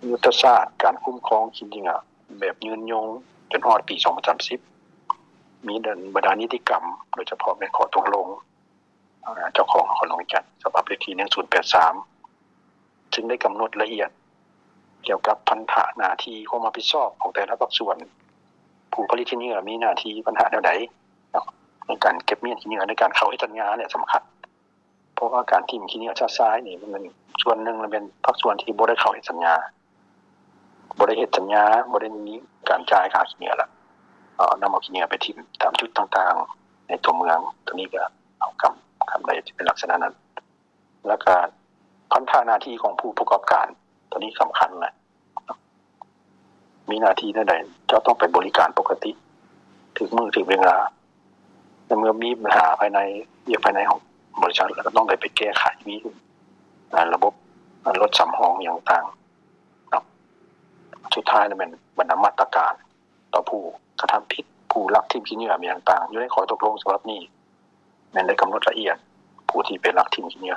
ຍຸດທະສາດການຄຸ້ມຄອງຂີ້ເຫຍື້ອແບບຍືນຍົງຈົນຮອດປີສອງພັນສາມສິບ ມີບັນດານິຕິກຳ ໂດຍສະເພາະແມ່ນຂໍ້ຕົກລົງ ເຈົ້າຂອງນະຄອນຫຼວງວຽງຈັນ ສະບັບເລກທີໜຶ່ງສູນແປດສາມ ຊຶ່ງໄດ້ກຳນົດລະອຽດກ່ຽວກັບພັນທະໜ້າທີ່ຄວາມຮັບຜິດຊອບຂອງແຕ່ລະພາກສ່ວນ ຜູ້ຜະລິດຂີ້ເຫຍື້ອມີໜ້າທີ່ບັນຫາແນວໃດເນາະ ໃນການເກັບມ້ຽນຂີ້ເຫຍື້ອ ໃນການເຂົ້າເຮັດສັນຍານີ້ສຳຄັນ ເພາະວ່າການຖິ້ມຂີ້ເຫຍື້ອຊະຊາຍນີ້ ມັນ ສ່ວນໜຶ່ງລະແມ່ນພາກສ່ວນທີ່ບໍ່ໄດ້ເຂົ້າເຮັດສັນຍາ ບໍ່ໄດ້ເຮັດສັນຍາ ບໍ່ໄດ້ມີການຈ່າຍຄ່າຂີ້ເຫຍື້ອ ແລ້ວເອົາ ນຳເອົາຂີ້ເຫຍື້ອໄປຖິ້ມຕາມຈຸດຕ່າງໆໃນຕົວເມືອງ ໂຕນີ້ກໍເອົາຄຳ ຄຳໃດທີ່ເປັນລັກສະນະນັ້ນ ແລ້ວກໍພັນທະໜ້າທີ່ຂອງຜູ້ປະກອບການ ໂຕນີ້ສຳຄັນນະ ມີໜ້າທີ່ແນວໃດ ເຈົ້າຕ້ອງໄປບໍລິການປົກກະຕິ ຖືກມື້ຖືກເວລາ ແລະ ເມື່ອມີບັນຫາພາຍໃນ ວຽກພາຍໃນຂອງບໍລິສັດ ແລ້ວກໍຕ້ອງໄດ້ໄປແກ້ໄຂ ມີ ອາ ລະບົບ ອາ ລົດສຳຮອງຫຍັງຕ່າງເນາະ. ສຸດທ້າຍແລ້ວແມ່ນບັນດາມາດຕະການຕໍ່ຜູ້ກະທຳຜິດ ຜູ້ລັກຖິ້ມຂີ້ເຫຍື້ອຫຍັງຕ່າງ ຢູ່ໃນຂໍ້ຕົກລົງສະບັບນີ້ ແມ່ນໄດ້ກຳນົດລະອຽດ ຜູ້ທີ່ໄປລັກຖິ້ມຂີ້ເຫຍື້ອ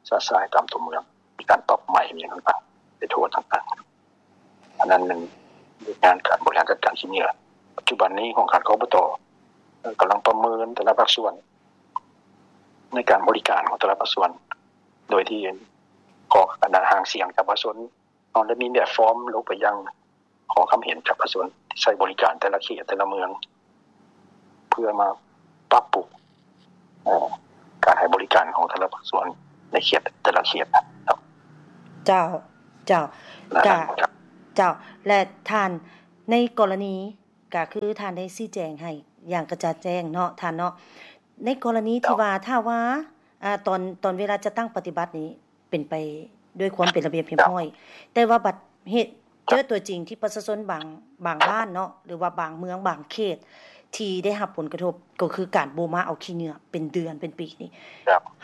ຊະຊາຍຕາມຕົວເມືອງ ມີການປັບໃໝຫຍັງຕ່າງໆ ໄປໂທດຕ່າງໆ. ອັນນັ້ນແມ່ນວຽກງານການບໍລິຫານຈັດການຂີ້ເຫຍື້ອ. ປັດຈຸບັນນີ້ຫ້ອງການ ກບຕ ກຳລັງປະເມີນແຕ່ລະພາກສ່ວນ ໃນການບໍລິການຂອງແຕ່ລະພາກສ່ວນ ໂດຍທີ່ຂໍຄະນະຫາງສຽງຈາກປະຊາຊົນ ເຮົາໄດ້ມີແບບຟອມລົງໄປຍັງ ຂໍຄຳເຫັນຈາກປະຊາຊົນທີ່ໃຊ້ບໍລິການແຕ່ລະເຂດແຕ່ລະເມືອງ ເພື່ອມາປັບປຸງ ເອີ ການໃຫ້ບໍລິການຂອງແຕ່ລະພາກສ່ວນໃນເຂດແຕ່ລະເຂດເນາະ. ເຈົ້າ ເຈົ້າ ແລະ ເຈົ້າ ແລະ ທ່ານ ໃນກໍລະນີ ກໍຄືທ່ານໄດ້ຊີ້ແຈງໃຫ້ຢ່າງກະຈ່າງແຈ້ງເນາະທ່ານເນາະ ໃນກໍລະນີທີ່ວ່າ ຖ້າວ່າ ອາ ຕອນ ຕອນເວລາຈັດຕັ້ງປະຕິບັດນີ້ ເປັນໄປດ້ວຍຄວາມເປັນລະບຽບຮຽບຮ້ອຍ ແຕ່ວ່າບັດເຫດ ເຈີຕົວຈິງທີ່ປະຊາຊົນບາງ ບາງບ້ານເນາະ ຫຼືວ່າບາງເມືອງ ບາງເຂດ ທີ່ໄດ້ຮັບຜົນກະທົບ ກໍຄືການບໍ່ມາເອົາຂີ້ເຫຍື້ອເປັນເດືອນເປັນປີນີ້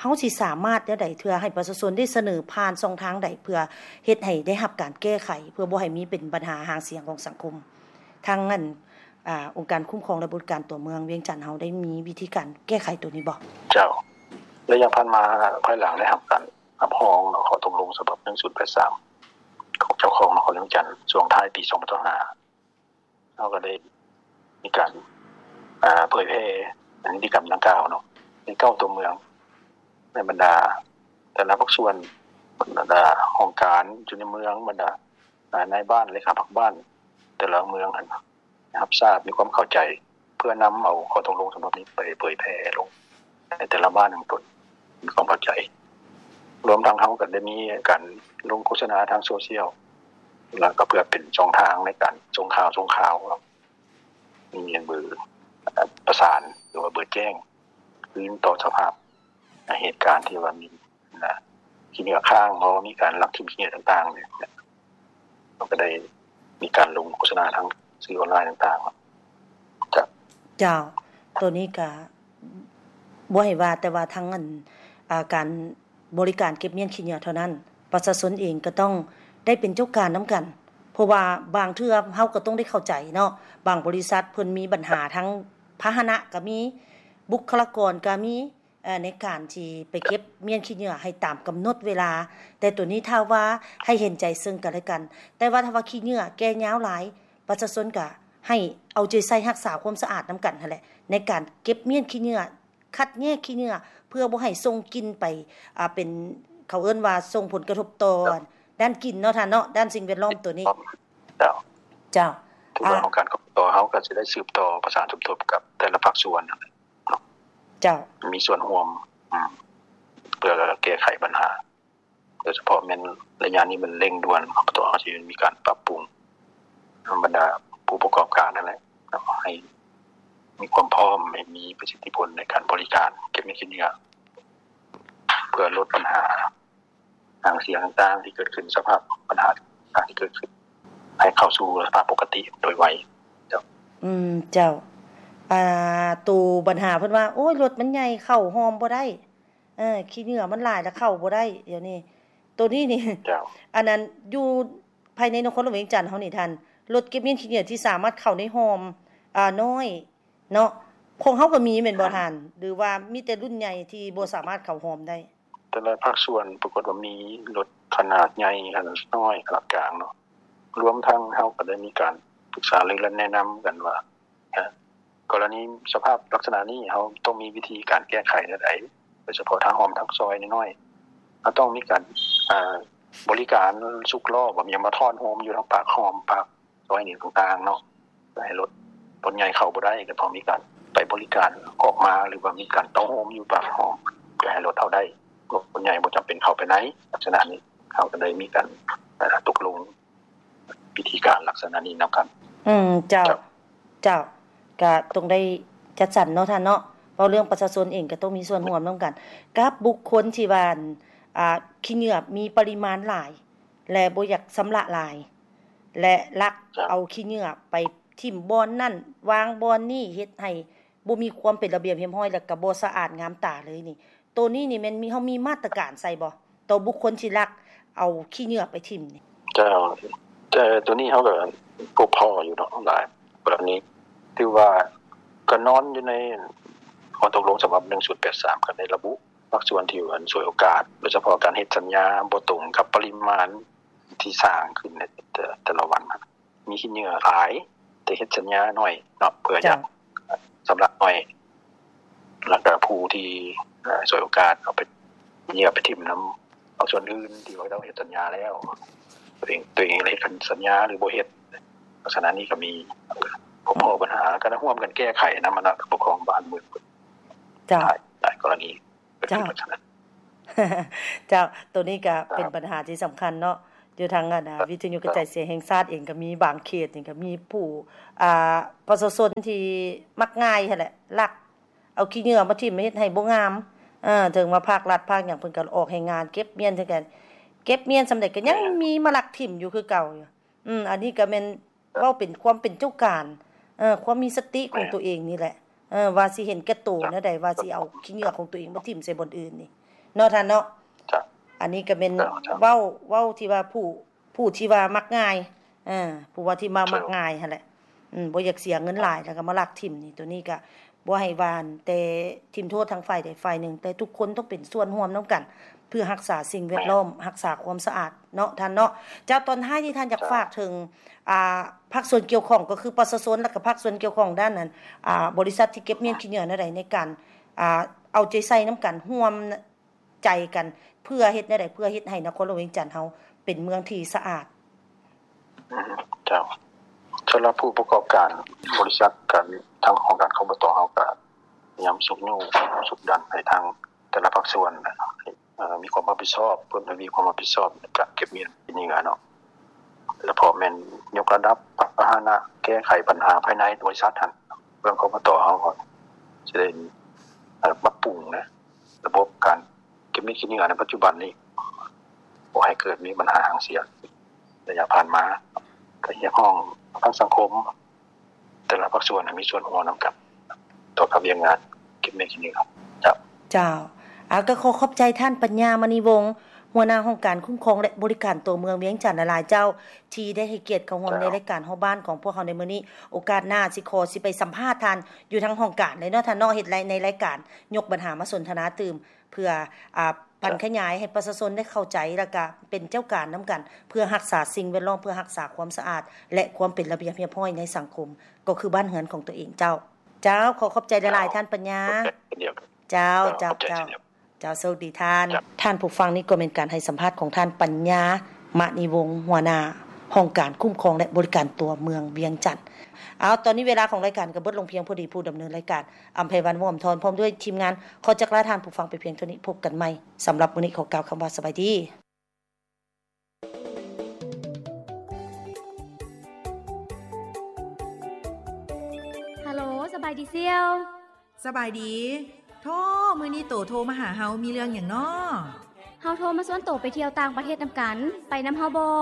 ເຮົາຊິສາມາດແນວໃດເທື່ອໃຫ້ປະຊາຊົນໄດ້ສະເໜີຜ່ານຊ່ອງທາງໃດ ເພື່ອເຮັດໃຫ້ໄດ້ຮັບການແກ້ໄຂ ເພື່ອບໍ່ໃຫ້ມີເປັນບັນຫາຫາງສຽງຂອງສັງຄົມ? ທາງອັນ ອາ ອົງການຄຸ້ມຄອງ ແລະ ບໍລິການຕົວເມືອງວຽງຈັນເຮົາໄດ້ມີວິທີການແກ້ໄຂໂຕນີ້ບໍ່? ເຈົ້າ ໄລຍະຜ່ານມາ ພາຍຫຼັງໄດ້ຮັບການ ຮັບຮອງເນາະ ຂໍ້ຕົກລົງສະບັບໜຶ່ງສູນແປດສາມ ຂອງເຈົ້າຄອງນະຄອນຫຼວງວຽງຈັນ ຊ່ວງທ້າຍປີສອງພັນຊາວຫ້າ ເຮົາກໍໄດ້ມີການ ອາ ເຜີຍແຜ່ນິຕິກຳດັ່ງກ່າວເນາະ ໃນເກົ້າຕົວເມືອງ ໃນບັນດາແຕ່ລະພາກສ່ວນ ບັນດາຫ້ອງການຢູ່ໃນເມືອງ ບັນດາ ອາ ນາຍບ້ານ ເລຂາພັກບ້ານ ແຕ່ລະເມືອງຫັ້ນ ຮັບຊາບ ມີຄວາມເຂົ້າໃຈ ເພື່ອນຳເອົາຂໍ້ຕົກລົງສະບັບນີ້ໄປເຜີຍແຜ່ລົງໃນແຕ່ລະບ້ານຂອງຕົນ ມີຄວາມເຂົ້າໃຈ. ລວມທັງເຮົາກໍໄດ້ມີການລົງໂຄສະນາທາງໂຊຊຽວ ແລ້ວກໍເພື່ອເປັນຊ່ອງທາງໃນການສົ່ງຂ່າວ ສົ່ງຂ່າວ ມີເບີປະສານ ຫຼືວ່າເບີແຈ້ງຄືນຕໍ່ສະພາບ ໃນເຫດການທີ່ວ່າມີ ນະ ຂີ້ເຫຍື້ອຄ້າງ ເພາະວ່າມີການລັກຖິ້ມຂີ້ເຫຍື້ອຕ່າງໆ ເຮົາກໍໄດ້ມີການລົງໂຄສະນາທາງສື່ອອນລາຍຕ່າງໆ ເຈົ້າ. ເຈົ້າ ໂຕນີ້ກະບໍ່ໃຫ້ວ່າແຕ່ວ່າທາງອັນ ອາ ການບໍລິການເກັບມ້ຽນຂີ້ເຫຍື້ອເທົ່ານັ້ນ ປະຊາຊົນເອງກໍຕ້ອງໄດ້ເປັນເຈົ້າການນຳກັນ ເພາະວ່າບາງເທື່ອເຮົາກໍຕ້ອງໄດ້ເຂົ້າໃຈເນາະ ບາງບໍລິສັດເພິ່ນມີບັນຫາທາງພາຫະນະກໍມີ ບຸກຄະລາກອນກໍມີ ເອີ ໃນການທີ່ໄປເກັບມ້ຽນຂີ້ເຫຍື້ອໃຫ້ຕາມກຳນົດເວລາ ແຕ່ໂຕນີ້ຖ້າວ່າໃຫ້ເຫັນໃຈເຊິ່ງກັນແລະກັນ ແຕ່ວ່າຖ້າວ່າຂີ້ເຫຍື້ອແກ່ຍາວຫຼາຍ ປະຊາຊົນກະໃຫ້ເອົາໃຈໃສ່ຮັກສາຄວາມສະອາດນຳກັນຫັ້ນແຫຼະ ໃນການເກັບມ້ຽນຂີ້ເຫຍື້ອ ຄັດແຍກຂີ້ເຫຍື້ອ ເພື່ອບໍ່ໃຫ້ສົ່ງກິ່ນໄປ ອາ ເປັນ ເຂົາເອີ້ນວ່າສົ່ງຜົນກະທົບຕໍ່ດ້ານກິ່ນເນາະທ່ານເນາະ ດ້ານສິ່ງແວດລ້ອມໂຕນີ້. ເຈົ້າ ເຈົ້າ ຖືວ່າ ອາ ໂຄງການ ກບຕ ເຮົາກໍຊິໄດ້ສືບຕໍ່ປະສານສົມທົບກັບແຕ່ລະພາກສ່ວນ ເຈົ້າ ມີສ່ວນຮ່ວມ ອືມ ເພື່ອແກ້ໄຂບັນຫາ ໂດຍສະເພາະແມ່ນໄລຍະນີ້ມັນເລັ່ງດ່ວນ ກບຕ ເຮົາຊິມີການປັບປຸງ ທາງບັນດາຜູ້ ຜູ້ປະກອບການນັ້ນແຫຼະເນາະ ໃຫ້ມີຄວາມພ້ອມ ໃຫ້ມີປະສິດທິຜົນໃນການບໍລິການເກັບເງິນຂີ້ເຫຍື້ອ ເພື່ອລົດບັນຫາຫາງສຽງຕ່າງໆທີ່ເກີດຂຶ້ນ ສະພາບບັນຫາຕ່າງໆທີ່ເກີດຂຶ້ນ ໃຫ້ເຂົ້າສູ່ສະພາບປົກກະຕິໂດຍໄວ. ເຈົ້າ. ອືມ ເຈົ້າ. ອ່າ ໂຕບັນຫາເພິ່ນວ່າ ໂອ້ຍ ລົດມັນໃຫຍ່ ເຂົ້າຮ່ອມບໍ່ໄດ້ ເອີ ຂີ້ເຫຍື້ອມັນຫຼາຍ ແລ້ວເຂົ້າບໍ່ໄດ້ ດຽວນີ້ ໂຕນີ້ນີ້ ເຈົ້າ. ອັນນັ້ນ ຢູ່ພາຍໃນນະຄອນຫຼວງວຽງຈັນເຮົານີ້ທ່ານ ລົດເກັບເງິນຂີ້ເຫຍື້ອທີ່ສາມາດເຂົ້າໃນຮ່ອມ ອ່າ ນ້ອຍເນາະ ຂອງເຮົາກໍມີແມ່ນບໍ່ທ່ານ ຫຼືວ່າມີແຕ່ລຸ້ນໃຫຍ່ທີ່ບໍ່ສາມາດເຂົ້າຮ່ອມໄດ້? ແຕ່ລະພາກສ່ວນປາກົດວ່າມີລົດຂະໜາດໃຫຍ່ ຂະໜາດນ້ອຍ ຂະໜາດກາງເນາະ ລວມທັງເຮົາກໍໄດ້ມີການປຶກສາລືແລະແນະນຳກັນວ່າ ອາ ກໍລະນີສະພາບລັກສະນະນີ້ ເຮົາຕ້ອງມີວິທີການແກ້ໄຂແນວໃດ ໂດຍສະເພາະທາງຮ່ອມທາງຊອຍນ້ອຍໆ ເຮົາຕ້ອງມີການ ອາ ບໍລິການຊຸກລໍ້ ແບບຫຍັງມາທ້ອນໂຮມຢູ່ທາງປາກຮ່ອມ ປາກຊອຍນີ້ຕ່າງໆເນາະ ເພື່ອໃຫ້ລົດ ລົດໃຫຍ່ເຂົ້າບໍ່ໄດ້ ກໍຕ້ອງມີການໄປບໍລິການອອກມາ ຫຼືວ່າມີການເຕົ້າໂຮມຢູ່ປາກຮ່ອມ ເພື່ອໃຫ້ລົດເຂົ້າໄດ້ ລົດໃຫຍ່ບໍ່ຈຳເປັນເຂົ້າໄປໃນ. ລັກສະນະນີ້ເຮົາກໍໄດ້ມີການ ເອີ ຕົກລົງ ວິທີການລັກສະນະນີ້ນຳກັນ. ອືມ ເຈົ້າ ເຈົ້າ ເຈົ້າ ກະຕ້ອງໄດ້ຈັດສັນເນາະທ່ານເນາະ ເວົ້າເລື່ອງປະຊາຊົນເອງກະຕ້ອງມີສ່ວນຮ່ວມນຳກັນ ກັບບຸກຄົນທີ່ວ່າ ອ່າ ຂີ້ເຫຍື້ອມີປະລິມານຫຼາຍ ແລະ ບໍ່ຢາກຊຳລະຫຼາຍ ແລະ ລັກ ເຈົ້າ ເອົາຂີ້ເຫຍື້ອໄປຖິ້ມບ່ອນນັ້ນ ວາງບ່ອນນີ້ ເຮັດໃຫ້ບໍ່ມີຄວາມເປັນລະບຽບຮຽບຮ້ອຍ ແລະ ກະບໍ່ສະອາດງາມຕາເລີຍນີ້. ໂຕນີ້ນີ້ແມ່ນມີ ເຮົາມີມາດຕະການໃສ່ບໍ່ ຕໍ່ບຸກຄົນທີ່ລັກເອົາຂີ້ເຫຍື້ອໄປຖິ້ມນີ້? ເຈົ້າ ແຕ່ໂຕນີ້ເຮົາກໍພົບພໍ້ຢູ່ເນາະ ຫຼາຍກໍລະນີ ຖືວ່າກໍນອນຢູ່ໃນຂໍ້ຕົກລົງສະບັບໜຶ່ງສູນແປດສາມ ກໍໄດ້ລະບຸພາກສ່ວນທີ່ອັນສວຍໂອກາດ ໂດຍສະເພາະການເຮັດສັນຍາບໍ່ຕົງກັບປະລິມານທີ່ສ້າງຂຶ້ນໃນແຕ່ ແຕ່ລະວັນ ມີຂີ້ເຫຍື້ອຫຼາຍ ແຕ່ເຮັດສັນຍາໜ້ອຍເນາະ ເພື່ອຢາກ ເຈົ້າ ຊຳລະໜ້ອຍ ແລ້ວກະຜູ້ທີ່ ເອີ ສວຍໂອກາດເອົາໄປ ເຫຍື້ອໄປຖິ້ມນຳພາກສ່ວນອື່ນທີ່ວ່າເຂົາເຮັດສັນຍາແລ້ວ ຕົວເອງ ຕົວເອງເຮັດສັນຍາ ຫຼື ບໍ່ເຮັດ ລັກສະນະນີ້ກໍມີ ກໍພໍບັນຫາ ກໍໄດ້ຮ່ວມກັນແກ້ໄຂນຳ ອັນນະ ຜູ້ປົກຄອງບ້ານເມືອງ ເຈົ້າ ຫຼາຍ ຫຼາຍກໍລະນີ. ເຈົ້າ ເຈົ້າ ໂຕນີ້ກະເປັນບັນຫາທີ່ສຳຄັນເນາະ ຢູ່ທາງອັນ ວິທະຍຸກະຈາຍສຽງແຫ່ງຊາດເອງກະມີ ບາງເຂດນີ້ກະມີຜູ້ ອ່າ ປະຊາຊົນທີ່ມັກງ່າຍຫັ້ນແຫຼະ ລັກເອົາຂີ້ເຫຍື້ອມາຖິ້ມ ເຮັດໃຫ້ບໍ່ງາມ ເອີ ເຖິງວ່າພາກລັດພາກຫຍັງເພິ່ນກະອອກແຮງງານເກັບມ້ຽນຄືກັນ ເກັບມ້ຽນສ່ຳໃດກະຍັງມີມາລັກຖິ້ມຢູ່ຄືເກົ່າຢູ່. ອືມ ອັນນີ້ກະແມ່ນເວົ້າເປັນຄວາມເປັນເຈົ້າການ ເອີ ຄວາມມີສະຕິຂອງໂຕເອງນີ້ແຫຼະ ເອີ ວ່າຊິເຫັນແກ່ໂຕແນວໃດ ວ່າຊິເອົາຂີ້ເຫຍື້ອຂອງໂຕເອງມາຖິ້ມໃສ່ບ່ອນອື່ນນີ້ເນາະທ່ານເນາະ. ອັນນີ້ກະແມ່ນເວົ້າ ເວົ້າທີ່ວ່າຜູ້ ຜູ້ທີ່ວ່າມັກງ່າຍ ເອີ ຜູ້ວ່າທີ່ວ່າມັກງ່າຍຫັ້ນແຫຼະ ອືມ ບໍ່ຢາກເສຍເງິນຫຼາຍ ແລ້ວກະມາລັກຖິ້ມນີ້ ໂຕນີ້ກະ ບໍ່ໃຫ້ວ່າແຕ່ຖິ້ມໂທດທາງຝ່າຍໃດຝ່າຍໜຶ່ງ ແຕ່ທຸກຄົນຕ້ອງເປັນສ່ວນຮ່ວມນຳກັນ ເພື່ອຮັກສາສິ່ງແວດລ້ອມ ແມ່ນ ຮັກສາຄວາມສະອາດເນາະທ່ານເນາະ. ເຈົ້າ ຕອນທ້າຍນີ້ທ່ານຢາກ ເຈົ້າ ຝາກເຖິງ ອ່າ ພາກສ່ວນກ່ຽວຂ້ອງ ກໍຄືປະຊາຊົນ ແລະກະພາກສ່ວນກ່ຽວຂ້ອງດ້ານນັ້ນ ອ່າ ບໍລິສັດທີ່ເກັບມ້ຽນຂີ້ເຫຍື້ອແນວໃດ ໃນການ ອ່າ ເອົາໃຈໃສ່ນຳກັນ ຮ່ວມ ໃຈກັນ ເພື່ອເຮັດແນວໃດ ເພື່ອເຮັດໃຫ້ນະຄອນຫຼວງວຽງຈັນເຮົາເປັນເມືອງທີ່ສະອາດ. ເຈົ້າ ສຳລັບຜູ້ປະກອບການບໍລິສັດ ກະທາງຫ້ອງການ ຄບຕ ເຮົາກະພະຍາຍາມຊຸກຍູ້ ຊຸກດັນໃຫ້ທາງແຕ່ລະພາກສ່ວນ ເອີ ມີຄວາມຮັບຜິດຊອບ ເພີ່ມທະວີຄວາມຮັບຜິດຊອບໃນການເກັບມ້ຽນຂີ້ເຫຍື້ອເນາະ ແລະ ເພາະແມ່ນຍົກລະດັບພາຫະນະ ແກ້ໄຂບັນຫາພາຍໃນບໍລິສັດຫັ້ນ ເບື້ອງ ຄບຕ ເຮົາກໍຊິໄດ້ ເອີ ປັບປຸງນະ ລະບົບການເກັບມ້ຽນຂີ້ເຫຍື້ອໃນປັດຈຸບັນນີ້ ບໍ່ໃຫ້ເກີດມີບັນຫາຫາງສຽງ. ໄລຍະຜ່ານມາ ກໍຮຽກຮ້ອງທາງສັງຄົມ ແຕ່ລະພາກສ່ວນໃຫ້ມີສ່ວນຮ່ວມນຳກັນ ຕໍ່ກັບວຽກງານເກັບມ້ຽນຂີ້ເຫຍື້ອ. ເຈົ້າ ເຈົ້າ ອາ ກໍຂໍຂອບໃຈທ່ານ ປັນຍາ ມະນີວົງ ຫົວໜ້າຫ້ອງການຄຸ້ມຄອງ ແລະ ບໍລິການຕົວເມືອງວຽງຈັນຫຼາຍໆ ເຈົ້າ ທີ່ໄດ້ໃຫ້ກຽດເຂົ້າຮ່ວມໃນລາຍການຮອບບ້ານຂອງພວກເຮົາໃນມື້ນີ້. ໂອກາດໜ້າຊິຂໍຊິໄປສຳພາດທ່ານຢູ່ທາງຫ້ອງການເລີຍເນາະທ່ານເນາະ ເຮັດໃນລາຍການຍົກບັນຫາມາສົນທະນາຕື່ມ ເພື່ອ ອ່າ ຜັນຂະຫຍາຍໃຫ້ປະຊາຊົນໄດ້ເຂົ້າໃຈ ແລ້ວກະເປັນເຈົ້າການນຳກັນ ເພື່ອຮັກສາສິ່ງແວດລ້ອມ ເພື່ອຮັກສາຄວາມສະອາດ ແລະ ຄວາມເປັນລະບຽບຮຽບຮ້ອຍໃນສັງຄົມ ກໍຄືບ້ານເຮືອນຂອງຕົວເອງເຈົ້າ. ເຈົ້າ ຂໍຂອບໃຈຫຼາຍໆ ເຈົ້າ ທ່ານປັນຍາ. ເຈົ້າ ເຈົ້າ ເຈົ້າ ເຈົ້າ ໂຊກດີທ່ານ. ທ່ານຜູ້ຟັງ ນີ້ກໍແມ່ນການໃຫ້ສຳພາດຂອງທ່ານ ປັນຍາ ມະນີວົງ ຫົວໜ້າຫ້ອງການຄຸ້ມຄອງ ແລະ ບໍລິການຕົວເມືອງວຽງຈັນ. ເອົາ ຕອນນີ້ເວລາຂອງລາຍການກໍເບິດລົງພຽງພໍດີ. ຜູ້ດຳເນີນລາຍການ ອຳໄພວັນ ວອມທອນ ພ້ອມດ້ວຍທີມງານ ຂໍຈາກລາທ່ານຜູ້ຟັງໄປພຽງເທົ່ານີ້. ພົບກັນໃໝ່. ສຳລັບມື້ນີ້ຂໍກ່າວຄຳວ່າສະບາຍດີ. ດີສ່ຽວ. ສະບາຍດີ. ໂທ້ ມື້ນີ້ໂຕໂທມາຫາເຮົາມີເລື່ອງຫຍັງນໍ? ເຮົາໂທມາຊວນໂຕໄປທ່ຽວຕ່າງປະເທດນຳກັນ, ໄປນຳເຮົາບໍ່?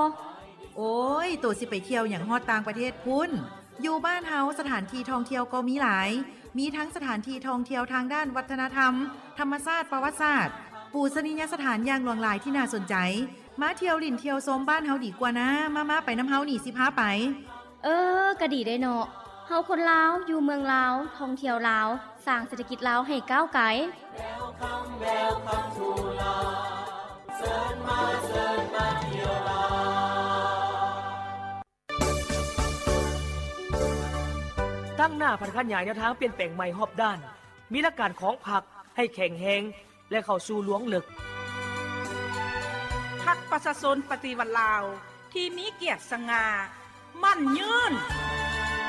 ໂອ້ຍ ໂຕຊິໄປທ່ຽວຫຍັງຮອດຕ່າງປະເທດພຸ້ນ. ຢູ່ບ້ານເຮົາສະຖານທີ່ທ່ອງທ່ຽວກໍມີຫຼາຍ, ມີທັງສະຖານທີ່ທ່ອງທ່ຽວທາງດ້ານວັດທະນະທຳ, ທຳມະຊາດ, ປະຫວັດສາດ, ປູຊະນີຍະສະຖານຢ່າງຫຼວງຫຼາຍທີ່ໜ້າສົນໃຈ. ມາທ່ຽວຫຼິ້ນທ່ຽວຊົມບ້ານເຮົາດີກວ່ານາ. ມາໆ ໄປນຳເຮົານີ້ ຊິພາໄປ. ເອີ ກະດີເດເນາະ, ເຮົາຄົນລາວ ຢູ່ເມືອງລາວ ທ່ອງທ່ຽວລາວ ສ້າງເສດຖະກິດລາວໃຫ້ກ້າວໄກ. ຕັ້ງໜ້າຜັນຂະຫຍາຍແນວທາງປ່ຽນແປງໃໝ່ຮອບດ້ານ, ມີຫຼັກການຂອງພັກໃຫ້ແຂງແຮງ ແລະ ເຂົ້າສູ່ລວງເລິກ. ພັກປະຊາຊົນປະຕິວັດລາວ ທີ່ມີກຽດສະຫງ່າ ໝັ້ນຍືນ.